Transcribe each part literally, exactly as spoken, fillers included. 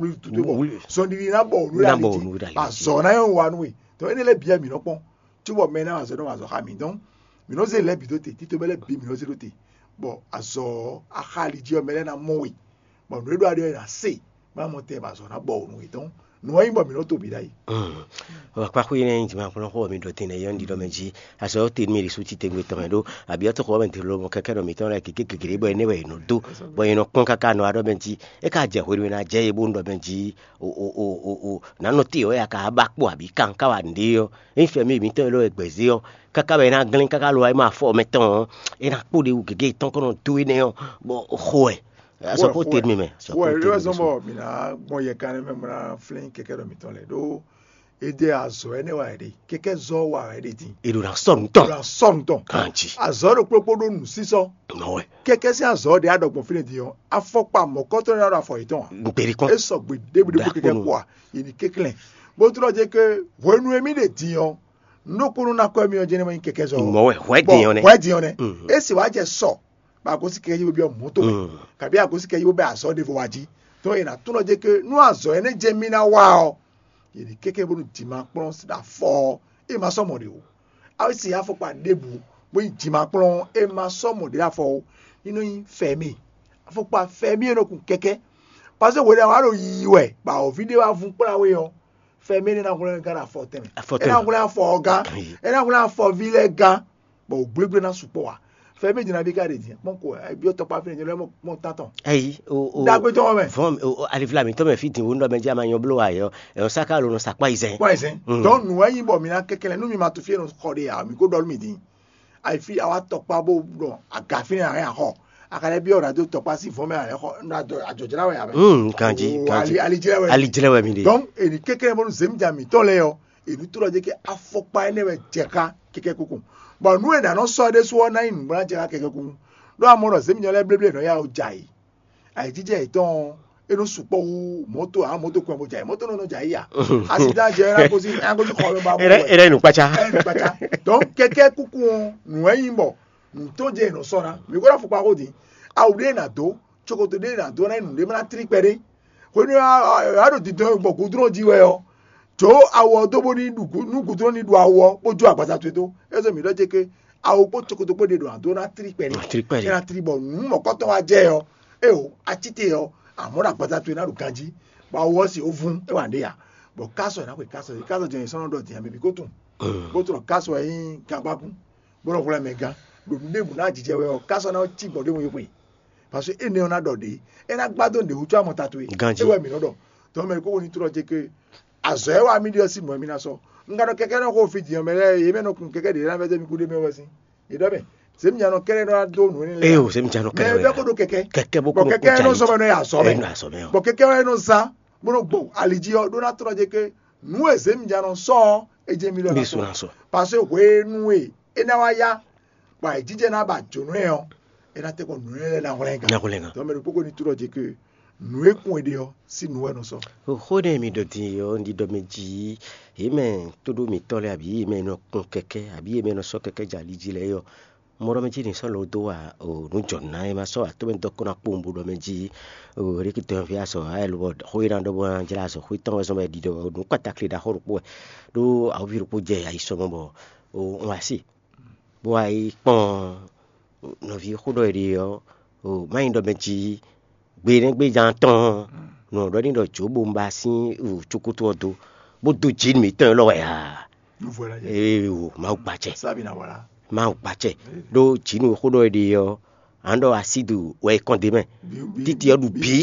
wlí tutú bɔ zɔnɖiɖi ná bɔ ònú ɖe ali jí, azɔ ná nyɔ́ wa nú we. Donc énɛ́ lɛ́ɛ bǐ wɛ mǐ nɔ kpɔ́n, cóbɔ mɛ ná wa azɔ nɔ wa azɔ xá mǐ. Donc mǐ nɔ zé lɛ̌ bǐ dó te, tito mɛ lɛ́ɛ bǐ mǐ nɔ zé dó te, bɔ azɔ ɔ́, axali jí ɔ́, mɛ lɛ́ɛ ná mɔ we, bɔ nǔ e ɖó aɖe ɔ́, è nǎ se, bɔ ná mɔ tɛn bɔ azɔ ná bɔ ònú we. Donc nǔ ɔ́ nyí bɔ mǐ nɔ to bǐ ɖ'ayǐ. Ɔ, akpaxwé énɛ́ nyi jǐmɛxlɔ́xó ɔ́ mi ɖɔ din nɛ́ yɔ́ nyi ɖɔ mɛ jí. Azɔ̌ te nú mì ɖi sú titewungbe tɔn mɛ ɖó abyɔ́tɔ́xɔ ɔ́ mɛ din lobɔ kɛkɛ́ ɖɔ mǐtɔn lɛ́ɛ gěgé gěgé bɔ énɛ́ wɛ è nɔ dó, bɔ è nɔ kpɔ́n káká nɔ wá ɖɔ mɛ jí. É ka jɛ hwenu e ná jɛ é bó nɔ ɖɔ mɛ jí, o o o o o, nǎ nɔ te ɔ́ ya ka ba kpo abǐ kan ká wa nǔɖé ɔ́, ényí fɛmí mǐtɔn e lɔ wɛ gbɛ̌ zé ɔ́, káká wɛ é ná glɛ́n káká lo wá é ma afɔ mɛtɔn ɔ́, é ná kpo ɖe wú gěgé tɔn kɔn nɔ dó énɛ́ ɔ́, bɔ xo wɛ. Azɔ kó te mi mɛ. Xo wɛ é wɛ zɔn bɔ mǐ ná gbɔn yɛ kan mɛ mɔ ná flín kɛkɛ́ ɖɔ mǐtɔn lɛ ɖó. Ede azɔ ɛnɛ wa ɖe kɛkɛ zɔ wa ɖe din. Eɖo na sɔ nutɔn. Eɖo na sɔ nutɔn. Kanji. Azɔ ɖo kplokplo ɖo nusisɔ. Nɔwɛ. Kɛkɛ sín azɔ ɖe aɖɔ gbɔn fínɛ din ɔ́, afɔkpa mɔkɔtɔ ɖe aɖɔ afɔ yetɔn. Gberi kɔn. Esɔ gbe ɖebu ɖebu kɛkɛ kpɔa, yini keklɛn. Bó trɔ dze ke hwenu emi ɖe din ɔ́, nukunu na kɔ emi ɔ́ jɛnɛ ma nyi kɛkɛ zɔ. Mɔwɛ hwɛ din ɔ́ nɛ. Hwɛ din ɔ́ nɛ. Esi wa jɛ sɔ, ba gosi kɛkɛ yi bo biɔ mɔto mɛ. Kabi agosi kɛkɛ yi bo bɛ azɔ ɖevo wa ji. Tɔn yina tunɔ dze ke nu azɔ ɛnɛ jɛ mi na wa ɔ. Yini keke bonu dima kplɔn si da fɔ ɔ. E ma sɔ mɔ ɖe o. Awo si afɔkpa ɖebu bo yi dima kplɔn e ma sɔ mɔ ɖe afɔ o. Ino yi fɛmi. Afɔkpa fɛmi e nɔ kun kɛkɛ. Parce que wele awa ɖo yiyi wɛ ba o vi ɖe wa vun kpla we ɔ. Fɛmi ne na hwlɛn gán afɔ tɛnmɛ. Afɔ tɛnmɛ. E na hwlɛn afɔ ɔ gán. E na hwlɛn afɔ vi lɛ gán. Bɔ o gblégblé ná sukpɔ́ wa. Fɛmi jina bi ka ɖe din kpɔn ko e biɔ tɔkpa fɛnɛ jɛnɛ mɔ tantɔn. Ayi o o dagbe tɔn mɛ. Vɔn o alivla mi tɔn mɛ fi din wo nɔ mɛ jama nyɔ blo wa yɔ. Ɛyɔ saka lo nɔ sakpa izɛ. Kpɔ ɛsɛ. Dɔn nu wɛ yin bɔ mi na kɛkɛ lɛ nu mi ma to fi yɛ nɔ xɔ de ya mi ko dɔlu mi din. Ayi fi awa tɔkpa bo dɔn aga fi ne a yɛ xɔ. A ka lɛ biɔ radio tɔkpa si vɔn mɛ a yɛ xɔ na dɔ ajɔjɔna wɛ a bɛ. Hmm, kanji, kanji. Ali jɛ wɛ. Ali jɛ wɛ mi de. Donc eni kɛkɛ bɔ nu zemi ja mi tɔ lɛ yɔ. Enu to ɖɔ dze ke afɔkpa énɛ́ wɛ jɛ xá kɛkɛ́ kúkú. Bɔ nú è nǎ nɔ sɔ́ ɖésú ɔ́ ná nyí nǔgbó ná jɛ xá kɛkɛ́ kúkú. Ɖó amɔ ɖɔ zěminyɔ lɛ́ɛ bléblé nɔ ya o jɛ ayǐ. Ayǐjijɛ yětɔn ɔ́, é nɔ sukpɔ́ hú mɔ̌to ǎ mɔ̌to kɔn bó jɛ ayǐ. Mɔ̌to nɔ nɔ jɛ ayǐ ya. Asi dá jɛ ná gosi ná gosi xɔ mɛ ba bɔ. Ere ere nu kpacha. Ɛ nu kpacha. Donc kɛkɛ́ kúkú ɔ́, nǔ wɛ nyí bɔ nǔ tɔn jɛ è nɔ sɔ́ ná. Mǐ ko ɖo afɔkpa xó din. Awu ɖé è nǎ dó, cokoto ɖé è nǎ dó ná nyí nǔɖé má ná tlí kpɛɖé. Hwenu e a ɖo dindɔn e gbɔ gudlɔ́n jí wɛ ɔ́, jǒ awu ɔ́ dó bónú ní ɖu nú gudlɔ́n ní ɖu awu ɔ́, bó jó agbaza towe dó. É zɔ́n mǐ ɖɔ cé ké awu kpó cokoto kpó ɖe ɖo ǎ dó ná tlí kpɛɖé. Tlí kpɛɖé. É ná tlí bɔ nǔ mɔ̌kɔtɔn wá jɛ ɔ́, é o, acíte ɔ́, amɔ̌ ɖo agbaza towe ná ɖo ganjí, bɔ awu ɔ́ se ó vún, é wa nǔɖé ya. Bɔ kásɔ è nǎ xwe kásɔ, kásɔ jɛ nyɛ sɔ́ nɔ ɖɔ din ame bǐ kó tunwun, bó tlɔ kásɔ wɛ nyí gangbákún, bó nɔ hwlɛ́n mɛ gán, ɖo nǔ ɖěbǔ ná jijɛ wɛ ɔ́, kásɔ ná cí gbɔ̌ ɖé mu yi xwe. Parce que énɛ́ ɔ́ ná ɖɔ ɖě, é ná gbá dó nǔɖé wútu amɔ tatu e. Ganjí. É wɛ mǐ nɔ ɖɔ. Tɔn mɛ kókó ní tlɔ jɛ ke azɔ̌ e wa mì ɖe ɔ́ sín mɔ̌ mì ná sɔ́. Un ka ɖɔ kɛkɛ́ nɔ xo fí din ɔ́ mɛ lɛ́ɛ, yě mɛ nɔ kun kɛkɛ́ ɖě ná vɛ́ dó mì kú ɖé mɛ wɛ sín. Yě ɖɔ mɛ, zěminya nɔ kɛ́ɖɛ́ nɔ wá dó nǔ énɛ́ lɛ́ɛ. Eo, zěminya nɔ kɛ́ɖɛ́ wɛ. Mɛ bɛ́ kó ɖó kɛkɛ́. Kɛkɛ́ bó kó bɔ kɛkɛ́ nɔ sɔ́ mɛ nɔ yi azɔ̌ mɛ. Ɛ nɔ azɔ̌ mɛ ɔ. Bɔ kɛkɛ́ wɛ nɔ zán bó nɔ gbɔ ali jí ɔ́ ɖó ná tlɔ jɛ ke nǔ e zěminya nɔ sɔ́ ɔ́, é jɛ mì lɔ ná sɔ́. Parce que hwenu e é ná wá yá, bɔ ayǐjijɛ ná ba jǒnɔ ɛ ɔ́, é ná tɛ́ kɔ nǔ énɛ́ lɛ́ɛ ná hwlɛ́n gán. Ná hwlɛ́n gán. Tɔmɛ ɖokpó ko ní tlɔ jɛ ke nǔ e kún è ɖe ɔ́ sín nǔ wɛ nɔ sɔ́. Xó ɖé mi ɖɔ din ɔ́, un ɖi ɖɔ mɛ jí yě mɛ tóɖó mǐtɔn lɛ́ɛ abǐ yě mɛ nɔ kpɔn kɛkɛ́ abǐ yě mɛ nɔ sɔ́ kɛkɛ́ jɛ ali jí lɛ́ɛ ɔ́, mɔ ɖɔ mɛ jí ní sɔ́ lɔ dó wa o nǔ jɔ nǔ ná é ma sɔ́ atɔ́ mɛ dɔ́ kó ná kpowun bó ɖɔ mɛ jí o rékítɔ́ ví azɔ ayɛlú bɔ xó e ná ɖɔ bó ná jlá azɔ xó tɔn wɛ zɔn bɔ è ɖi ɖɔ nǔ kpata kle ɖaxó ɖokpó wɛ ɖó awɔví ɖokpó jɛ ayisɔmɔ bɔ o un wá sí bó wá yi kpɔ́n nɔví xó ɖɔ è ɖe ɔ́, o má nyí ɖɔ mɛ jí gbe nɛ́ gbéján tɔn nɔ ɖɔ ní ɖɔ jǒ bo un ba sín cokoto ɔ́ dó bó dó jǐ nú mǐtɔn élɔ́ wɛ aa. Ee o, Mawu gbacɛ. Mawu gbacɛ. Ɖó jǐ nú xó ɖɔ è ɖe ɔ́, a nɔ ɖɔ asídu wɛ è kɔn d'é mɛ. Títí ɔ́ ɖu bǐ.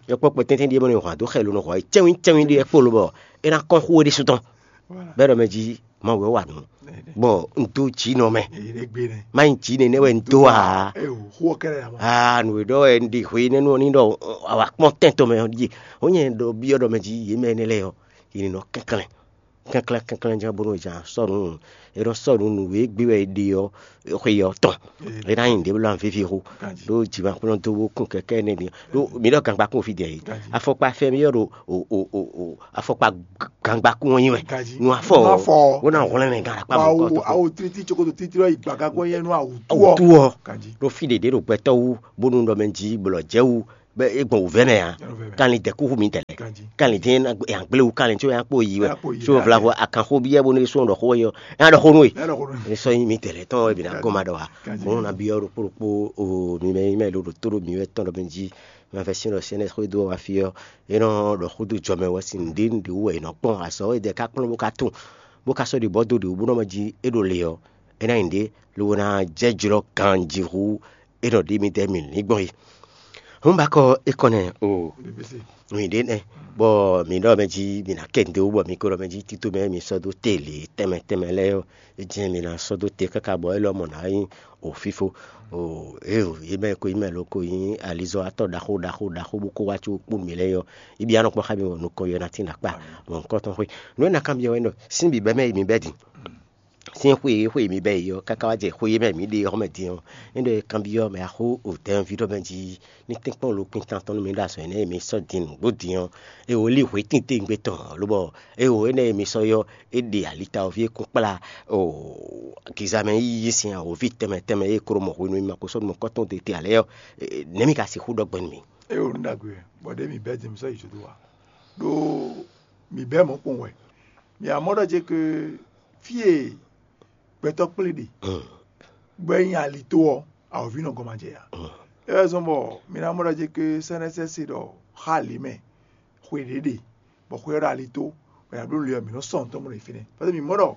Yɔkpɔ́kpɔ tɛ́ntɛ́n ɖíe mɔ ní hɔn adó xɛ ló nɔ hɔn cɛ́wín cɛ́wín ɖíe kpó lobɔ é ná kɔn xú we ɖésú tɔn. Bɛ́ ɖɔ mɛ jí Mawu wɛ wa nǔ, bɔ un dó jǐ nɔ mɛ. Má nyí jǐ nɛnɛ wɛ un dó ǎ. Aa, nǔ e ɖɔ wɛ un ɖi hwe nɛ́ nú ɔ́ ní ɖɔ a wǎ kpɔ́n tɛn tɔn mɛ ɔ́ ɖíe. Ó nyɛ ɖɔ byɔ́ ɖɔ mɛ jí yě mɛ énɛ́ lɛ́ɛ ɔ́, yě ní nɔ kɛnklɛ́n kɛnklɛ́n kɛnklɛ́n jɛ́n bónú è jǎ sɔ́ nǔ, è nɔ sɔ́ nǔ nǔ e gbé wɛ è ɖe ɔ́ xwe ɔ́ tɔn. É ná nyí nǔɖé wlán víví xó. Ɖó jǐ ma kplɔ́n dó bó kún kɛkɛ́ énɛ́ din. Ɖó mi ɖɔ gangbakún fí din ɛ? Afɔkpa fɛ́n mi ɔ́ ɖo o o o o afɔkpa gangbakún ɔ́ nyi wɛ. Nú afɔ ɔ́, bó ná hwlɛ́n mɛ gan akpá mɔ̌kɔ tó. Awo títí cokoto títí ɔ́ yi gbagagɔ́ yɛ nú awǔtu ɔ́. Awǔtu ɔ́. Ɖó fí ɖě ɖě ɖo gbɛtɔ́ wú bónú ɖɔ mɛ jí blɔ̌ jɛ wú bɛ é gbɔn wǔvɛ́ mɛ ǎ. Kanlin dɛ kúxú mǐdɛɛ lɛ́ɛ. Kanlin dín nya gblé wú kanlin có nya kpó yi wɛ. Có vlavo akanxó byɔ́ bónú é sɔ́ ɖɔ xó wɛ ɔ́, é ná ɖɔ xó nú we. É sɔ́ nyí mǐdɛɛ lɛ́ɛ tɔn wɛ bǐ ná gɔ́n ma ɖɔ ǎ. Mɔ̌ ná byɔ́ ɖokpó ɖokpó o mi mɛ nyí mɛ ɖo ɖo tó ɖo mǐ wɛ tɔn ɖɔ mɛ jí mɛ fɛ sín ɖɔ sɛ́nɛ xwé dó wa fí ɔ́, é nɔ ɖɔ xó dó jɔ mɛ wɛ sín nǔɖé nǔɖé wú wɛ è nɔ kpɔ́n azɔ̌ e dɛ ká kplɔ́n bó ká tunwun bó ká sɔ́ ɖi bɔ̌ dó ɖě wú bó nɔ mɛ jí é ɖo le ɔ́, é ná nyí nǔɖé lobo ná jɛ jlɔ́ ganjí hú é nɔ ɖi midɛɛ mǐ ní gbɔn é. Hǔn ba kɔ é kɔn nɛ o. Mǐ ɖe nɛ bɔ mǐ ɖɔ mɛ jí mǐ ná kɛ nǔɖé wú bɔ mi ko ɖɔ mɛ jí tito mɛ mi sɔ́ dó te lě tɛnmɛ tɛnmɛ lɛ́ɛ ɔ́, é jɛ́n mi ná sɔ́ dó te káká bɔ élɔ́ mɔ nǎ nyí o fífó. O eo yě mɛ ko nyí mɛ lo ko nyí alizɔ́watɔ́ ɖaxó ɖaxó ɖaxó bó ko wá có kpó mǐ lɛ́ɛ ɔ́, yi byɔ́ nɔ kpɔ́n xá mi bɔ nukɔn yɔ ná tín ɖo akpá mɔ nukɔn tɔn xwé. Nǔ e ná kanbyɔ́ wɛ nɔ sín bǐbɛ́ mɛ yi mi bɛ́ din. Sín xwe e xwe e mi bɛ́ yi ɔ́, káká wá jɛ xwe e mɛ mǐ ɖe ɔ́ mɛ din ɔ́, é ɖɔ é kanbyɔ́ mɛ axó o dɛ̌nví ɖɔ mɛ jí ní tɛ́nkpɔ́n lo kpíntán tɔn nú mi ɖo azɔ̌ énɛ́ e mi sɔ́ din nǔgbó din ɔ́, é wǒ lí hwě tínte ngbé tɔn ɔ́, lobɔ é wǒ énɛ́ e mi sɔ́ ɔ́, é ɖe alita ɔ́ ví é kún kplá o gizamɛ yíyí sín awǒvi tɛnmɛ tɛnmɛ e klo mɔ hwenu e mi ma ko sɔ́ nukɔn tɔn te te ǎ lɛ́ɛ ɔ́, nɛ̌ mi ka sixú ɖɔ gbɔn nú mì? É wǒ nú ɖagbe wɛ, bɔ ɖěe mǐ bɛ́ din mi sɔ́ yi jǒdó ǎ, ɖó mǐ bɛ́ mɔ̌ kpɔn wɛ. Mǐ wá mɔ ɖɔ ce ke fí e gbɛtɔ́ kplé ɖe, bɔ é nyí ali tó ɔ́, awǒvi nɔ gɔ́n ma jɛ ǎ. É wɛ zɔ́n bɔ mi ná mɔ ɖɔ ce ke sɛ́nɛ́sɛ́ se ɖɔ xá lě mɛ xwe ɖě ɖe, bɔ xwe ɔ́ ɖo ali tó, bɔ è nǎ bló nǔ lě ɔ́, mǐ nɔ́ sɔ́ nǔ tɔn bó nɔ yi fínɛ́. Pɛ́sɛ mǐ mɔ ɖɔ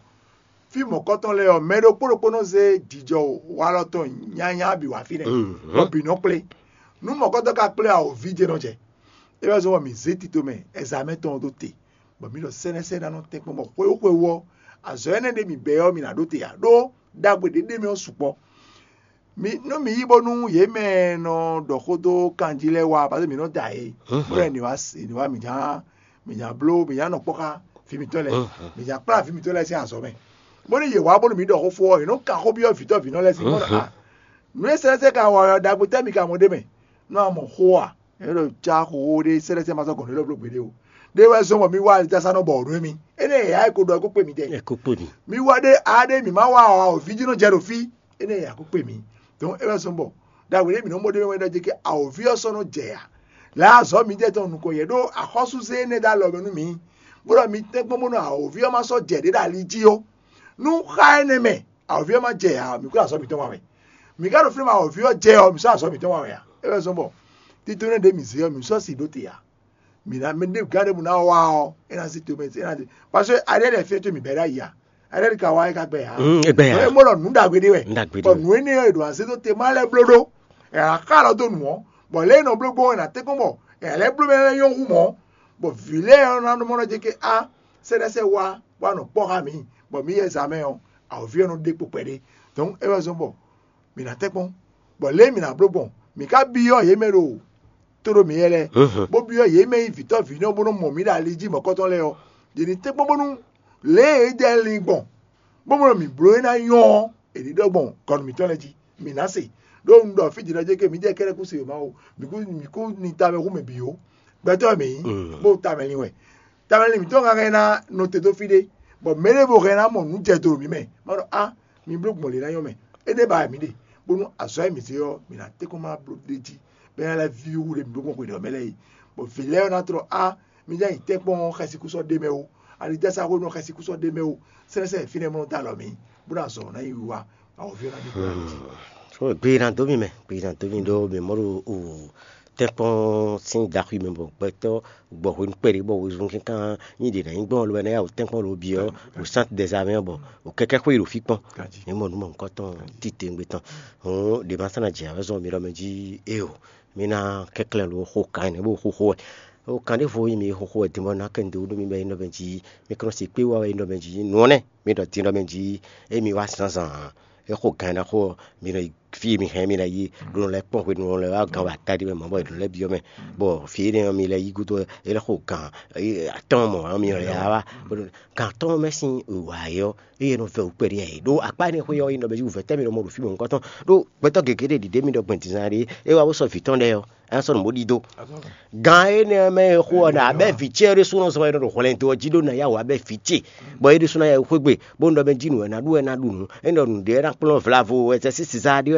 fí mɔ̌kɔtɔn lɛ́ɛ ɔ́, mɛ ɖokpó ɖokpó nɔ zé jijɔ walɔ tɔn nyanya bǐ wá fínɛ́, bɔ bǐ nɔ kplé. Nú mɔ̌kɔtɔn ka kplé ɔ́, awǒvi jɛ́n nɔ jɛ. É wɛ zɔ́n bɔ mǐ zé tito mɛ ɛzamɛ tɔn ɔ́ dó te, bɔ mǐ ɖɔ sɛ́nɛ́sɛ́ ná nɔ tɛ́nkpɔ́n bɔ xwewú xwewú ɔ́, azɔ̌ énɛ́ ɖé mǐ bɛ́ ɔ́, mǐ ná ɖó te ǎ, ɖó ɖagbe ɖě ɖ'é mɛ ɔ́ sukpɔ́. Mi nú mi yí bónú yě mɛ e nɔ ɖɔ xó dó kanjí lɛ́ɛ wá, parce que mǐ nɔ da yě, bó lɛ́ ní wá ní wá mǐ ná mǐ ná bló mǐ ná nɔ kpɔ́ xá vǐ mǐtɔn lɛ́ɛ, mǐ ná kplá vǐ mǐtɔn lɛ́ɛ sín azɔ̌ mɛ. Bónú yě wá bónú mǐ ɖɔ xó fó ɔ́, yě nɔ kan xó byɔ́ vǐtɔ́ vǐnɔ lɛ́ɛ sín bɔ ɖɔ a nǔ e sɛ́sɛ́ ka wa ɔ́, ɖagbe tɛ́ mi ka mɔ ɖ'é mɛ? Nú a mɔ xó a, é ɖo cá xóxó ɖé sɛ́sɛ́ ma sɔ́ gɔ̌n ɖé lɔ bló gbeɖé o. Ɖé wɛ zɔ́n bɔ mi wá alitasa nɔ bɔ nǔ émí. Énɛ́ yě yá e ko ɖɔ é kó kpe mi dɛ. Ɛ kó kpo ni. Mi wá ɖé a ɖé mǐ má wá ɔ awǒvi jí nɔ jɛ ɖo fí. Énɛ́ yě yá kó kpe mi. Donc é wɛ zɔ́n bɔ ɖagbe ɖé mǐ nɔ mɔ ɖé wɛ ɖɔ jɛ kí awǒvi ɔ́ sɔ́ nɔ jɛ ya. Lǎ azɔ̌ mi jɛ tɔn nukɔn yɛ ɖó axɔ́súzé énɛ́ ɖó alɔ mɛ nú mi. Bó ɖɔ mi tɛ́nkpɔ́n bónú awǒvi ɔ́ má sɔ́ jɛ ɖě ɖo ali jí ó. Nú xá énɛ́ mɛ awǒvi ɔ́ má jɛ ya ɔ́, mǐ kó azɔ̌ mǐtɔn wa wɛ. Mǐ ka ɖo fínɛ́ mɛ awǒvi ɔ́ jɛ ɔ́, mǐ sɔ́ azɔ̌ mǐtɔn wa wɛ a? É wɛ zɔ́n bɔ títúnú ɖě mǐ zé ɔ́, mǐ sɔ́ sin ɖó te ǎ. Mǐ ná mɛ ɖé gǎn ɖěbǔ ná wá ɔ́, é ná zí tomɛ é ná zí. Parce que aɖɛ́ lɛ́ɛ fí é tó mǐ bɛ́ ɖ'ayǐ ǎ. Aɖɛ́ ka wá é ka gbɛ ǎ. Mm, é gbɛ ǎ. É mɔ ɖɔ nǔ ɖagbe ɖé wɛ. Nǔ ɖagbe ɖé Bɔ wɛ. Nǔ énɛ́ ɔ́, è ɖo azé dó te má lɛ́ bló ɖó. È nǎ xa lɔ dó nǔ ɔ́, bɔ lě e è nɔ bló gbɔn ɔ́, è nǎ tɛ́nkpɔ́n bɔ è nǎ lɛ́ bló mɛ lɛ́ɛ nyɔ́ hú mɔ̌. Bɔ vǐ lɛ́ɛ ɔ́ ná mɔ nɔ jɛ ké á sɛ́ɖɛ́sɛ́ wá bó wá nɔ kpɔ́ xá mǐ, bɔ mǐ yɛ zǎn mɛ ɔ́, awǒvi ɔ́ nɔ ɖe kpo kpɛɖé. Donc é wɛ zɔ́n bɔ mǐ ná tɛ́nkpɔ́n, bɔ lě e mǐ ná bló gbɔn, mǐ ka byɔ́ yě mɛ ɖo tó ɖo mǐ yɛ lɛ́ɛ, bó byɔ́ yě mɛ nyí vǐtɔ́ vǐnɔ bó nɔ́ mɔ mǐ ɖo ali jí mɔ̌kɔtɔn lɛ́ɛ ɔ́, yě ní tɛ́nkpɔ́n bónú lě e é jɛ lin gbɔn, bó mɔ mǐ bló é ná nyɔ́ ɔ́, è ní ɖɔ gbɔn gɔnu mǐtɔn lɛ́ɛ jí, mǐ ná se. Ɖó un ɖɔ fí jǐnɔ́ jɛ ke mǐ jɛ kɛ́ɖɛ́ kú se ma o, mǐ kú mǐ kú ni tamɛ hú mɛ bǐ ó. Gbɛtɔ́ wɛ mǐ nyí, bó tamɛ lin wɛ. Tamɛ lin mǐtɔn ka hɛn ná nɔ te dó fí ɖé, bɔ mɛ ɖěvo hɛn ná mɔ nǔ jɛ do ɖo mǐ mɛ. Má ɖɔ á, mi bló gbɔn lě ná nyɔ́ mɛ. Énɛ́ ba wɛ mǐ ɖe, bónú azɔ̌ e mǐ zé ɔ́, mǐ ná tɛ́nkpɔ́n má bló ɖ'é jí, bɔ é ná lɛ́ víwú ɖe mǐ ɖó gbɔn xwe ɖɔ mɛ lɛ́ɛ yi. Bɔ vǐ lɛ́ɛ ɔ́ ná tlɔ á, mi ján yi tɛ́nkpɔ́n xɛsikúsɔ ɖé mɛ ó, ali jásá xwé nɔ xɛsikúsɔ ɖé mɛ ó, sɛ́nɛsɛ́n fínɛ́ mɔ nɔ dó alɔ mǐ, bó ná zɔ ná yi wiwa, awɔví ɔ́ ná ɖi kúɖa jí. So gbe ná dó mi mɛ, gbe ná dó mi ɖó mi mɔ ɖo o tɛ́nkpɔ́n sín daxwi mɛ bɔ gbɛtɔ́ gbɔ hwenu kpɛɖé bɔ wezun kínkan nyi ɖě ná nyí gbɔn lobo ná ya wò tɛ́nkpɔ́n lobo byɔ́ wò sánti dɛzamɛ ɔ́ bɔ wò kɛkɛ́ xwé yi ɖo fí kpɔ́n. Ní mɔ nǔ mɔ nukɔntɔn titewungbe tɔn. Hǔn ɖě ma sɔ́ ná jɛ awɛzɔ́ mi ɖɔ mɛ jí éeǒ. Mi ná kɛnklɛ́n lo xo kan énɛ́ bó xóxó wɛ. O kan ɖěvo e mi xóxó wɛ din bɔ ná kɛ nǔɖé wú nú mi bɔ é nɔ bɛn jí mi kɛ́n nɔ se kpé wá wɛ é nɔ bɛn jí nǔ ɔ́ nɛ́ mi ɖɔ din nɔ bɛn jí é mi wá zǎnzǎn ǎ. É xo gan e ná xo ɔ́, mi nɔ yi fí e mi hɛn mi ná yi ɖó nɔ lɛ́ kpɔ́n hwenu nɔ lɛ́ wá gan wá taɖi mɛ mɔ̌ bɔ è nɔ lɛ́ byɔ́ mɛ. Bɔ fí énɛ́ ɔ́ mi lɛ́ yí gúdo é lɛ́ xo gan atɔ́ɔ́n mɔ̌ ɔ́ mi nɔ lɛ́ wá gan atɔ́ɔ́n mɛ sín wǎ é ɔ́, eye nɔ vɛ wǔ kpɛɖé ɛ ɖó akpá énɛ́ xwé ɔ́ é nɔ bɛn jí wǔvɛ́ tɛ́ mi nɔ mɔ ɖo fí mɔ̌hunkɔtɔn ɖó gbɛtɔ́ gěgé ɖé ɖiɖě mi ɖɔ gbɛn dǐndín ɖé é wá bó sɔ́ vǐ tɔn lɛ́ɛ ɔ́, é ná sɔ́ nǔ bó ɖidó. Gan énɛ́ mɛ e xo ɔ́ ná abɛ́ vǐ ce ɖésú nɔ zɔn wɛ nɔ ɖo hwlɛndo ɔ́ jí ɖó ná yá wǔ abɛ́ vǐ ce, bɔ é ɖésú ná yá xwé gbe bó nɔ ɖɔ mɛ jí nǔ wɛ ná ɖu wɛ ná ɖu nǔ, é nɔ nǔɖé ná kplɔ́n vlavo wɛ sɛ sín Sizaa ɖé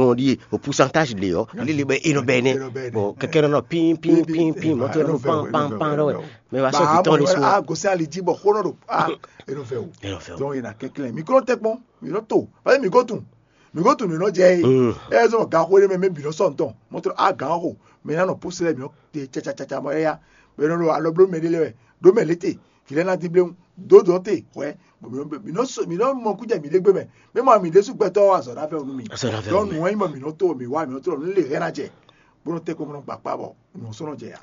gbɔn ɖíe o pourcentage ɖe ɔ́, líle bɛ e nɔ bɛ nɛ. Bɔ kɛkɛ nɔ nɔ pin pin pin pin, mɔtɔ nɔ pan pan pan ɖɔ wɛ. Mɛ wa sɔ vitɔn ɖe su. A gosɛ ali jí bɔ xó nɔ ɖo a e nɔ fɛ o. E nɔ fɛ o. Donc e na kɛnklɛn mi klo tɛ kpɔn mi nɔ to, parce que mi ko tun mi ko tun mi nɔ jɛ ye. Ɛ zɔn gan xó ɖe mɛ mɛ bi nɔ sɔ ntɔn mɔtɔ a gan xó mɛ na nɔ pousse lɛ mi nɔ te cacacaca mɔ ya. Bɛ nɔ ɖo alɔ blo mɛ ɖe lɛ wɛ ɖo mɛ lete kì lɛ na dín bléwu dó dɔn te hwɛ. Bon, mi nɔ mi nɔ so mi nɔ mɔ kú jɛ mi ɖe gbé mɛ mɛ mɔ mi ɖe su gbɛtɔ wa azɔ na fɛ o nu mi. Azɔ na fɛ o nu mi. Donc nu wɛn nyí bɔ mi nɔ to mi wa mi nɔ to nu le hɛn na jɛ bó nɔ tɛ kó nɔ gbakpa bɔ nu sɔnɔ jɛ ya.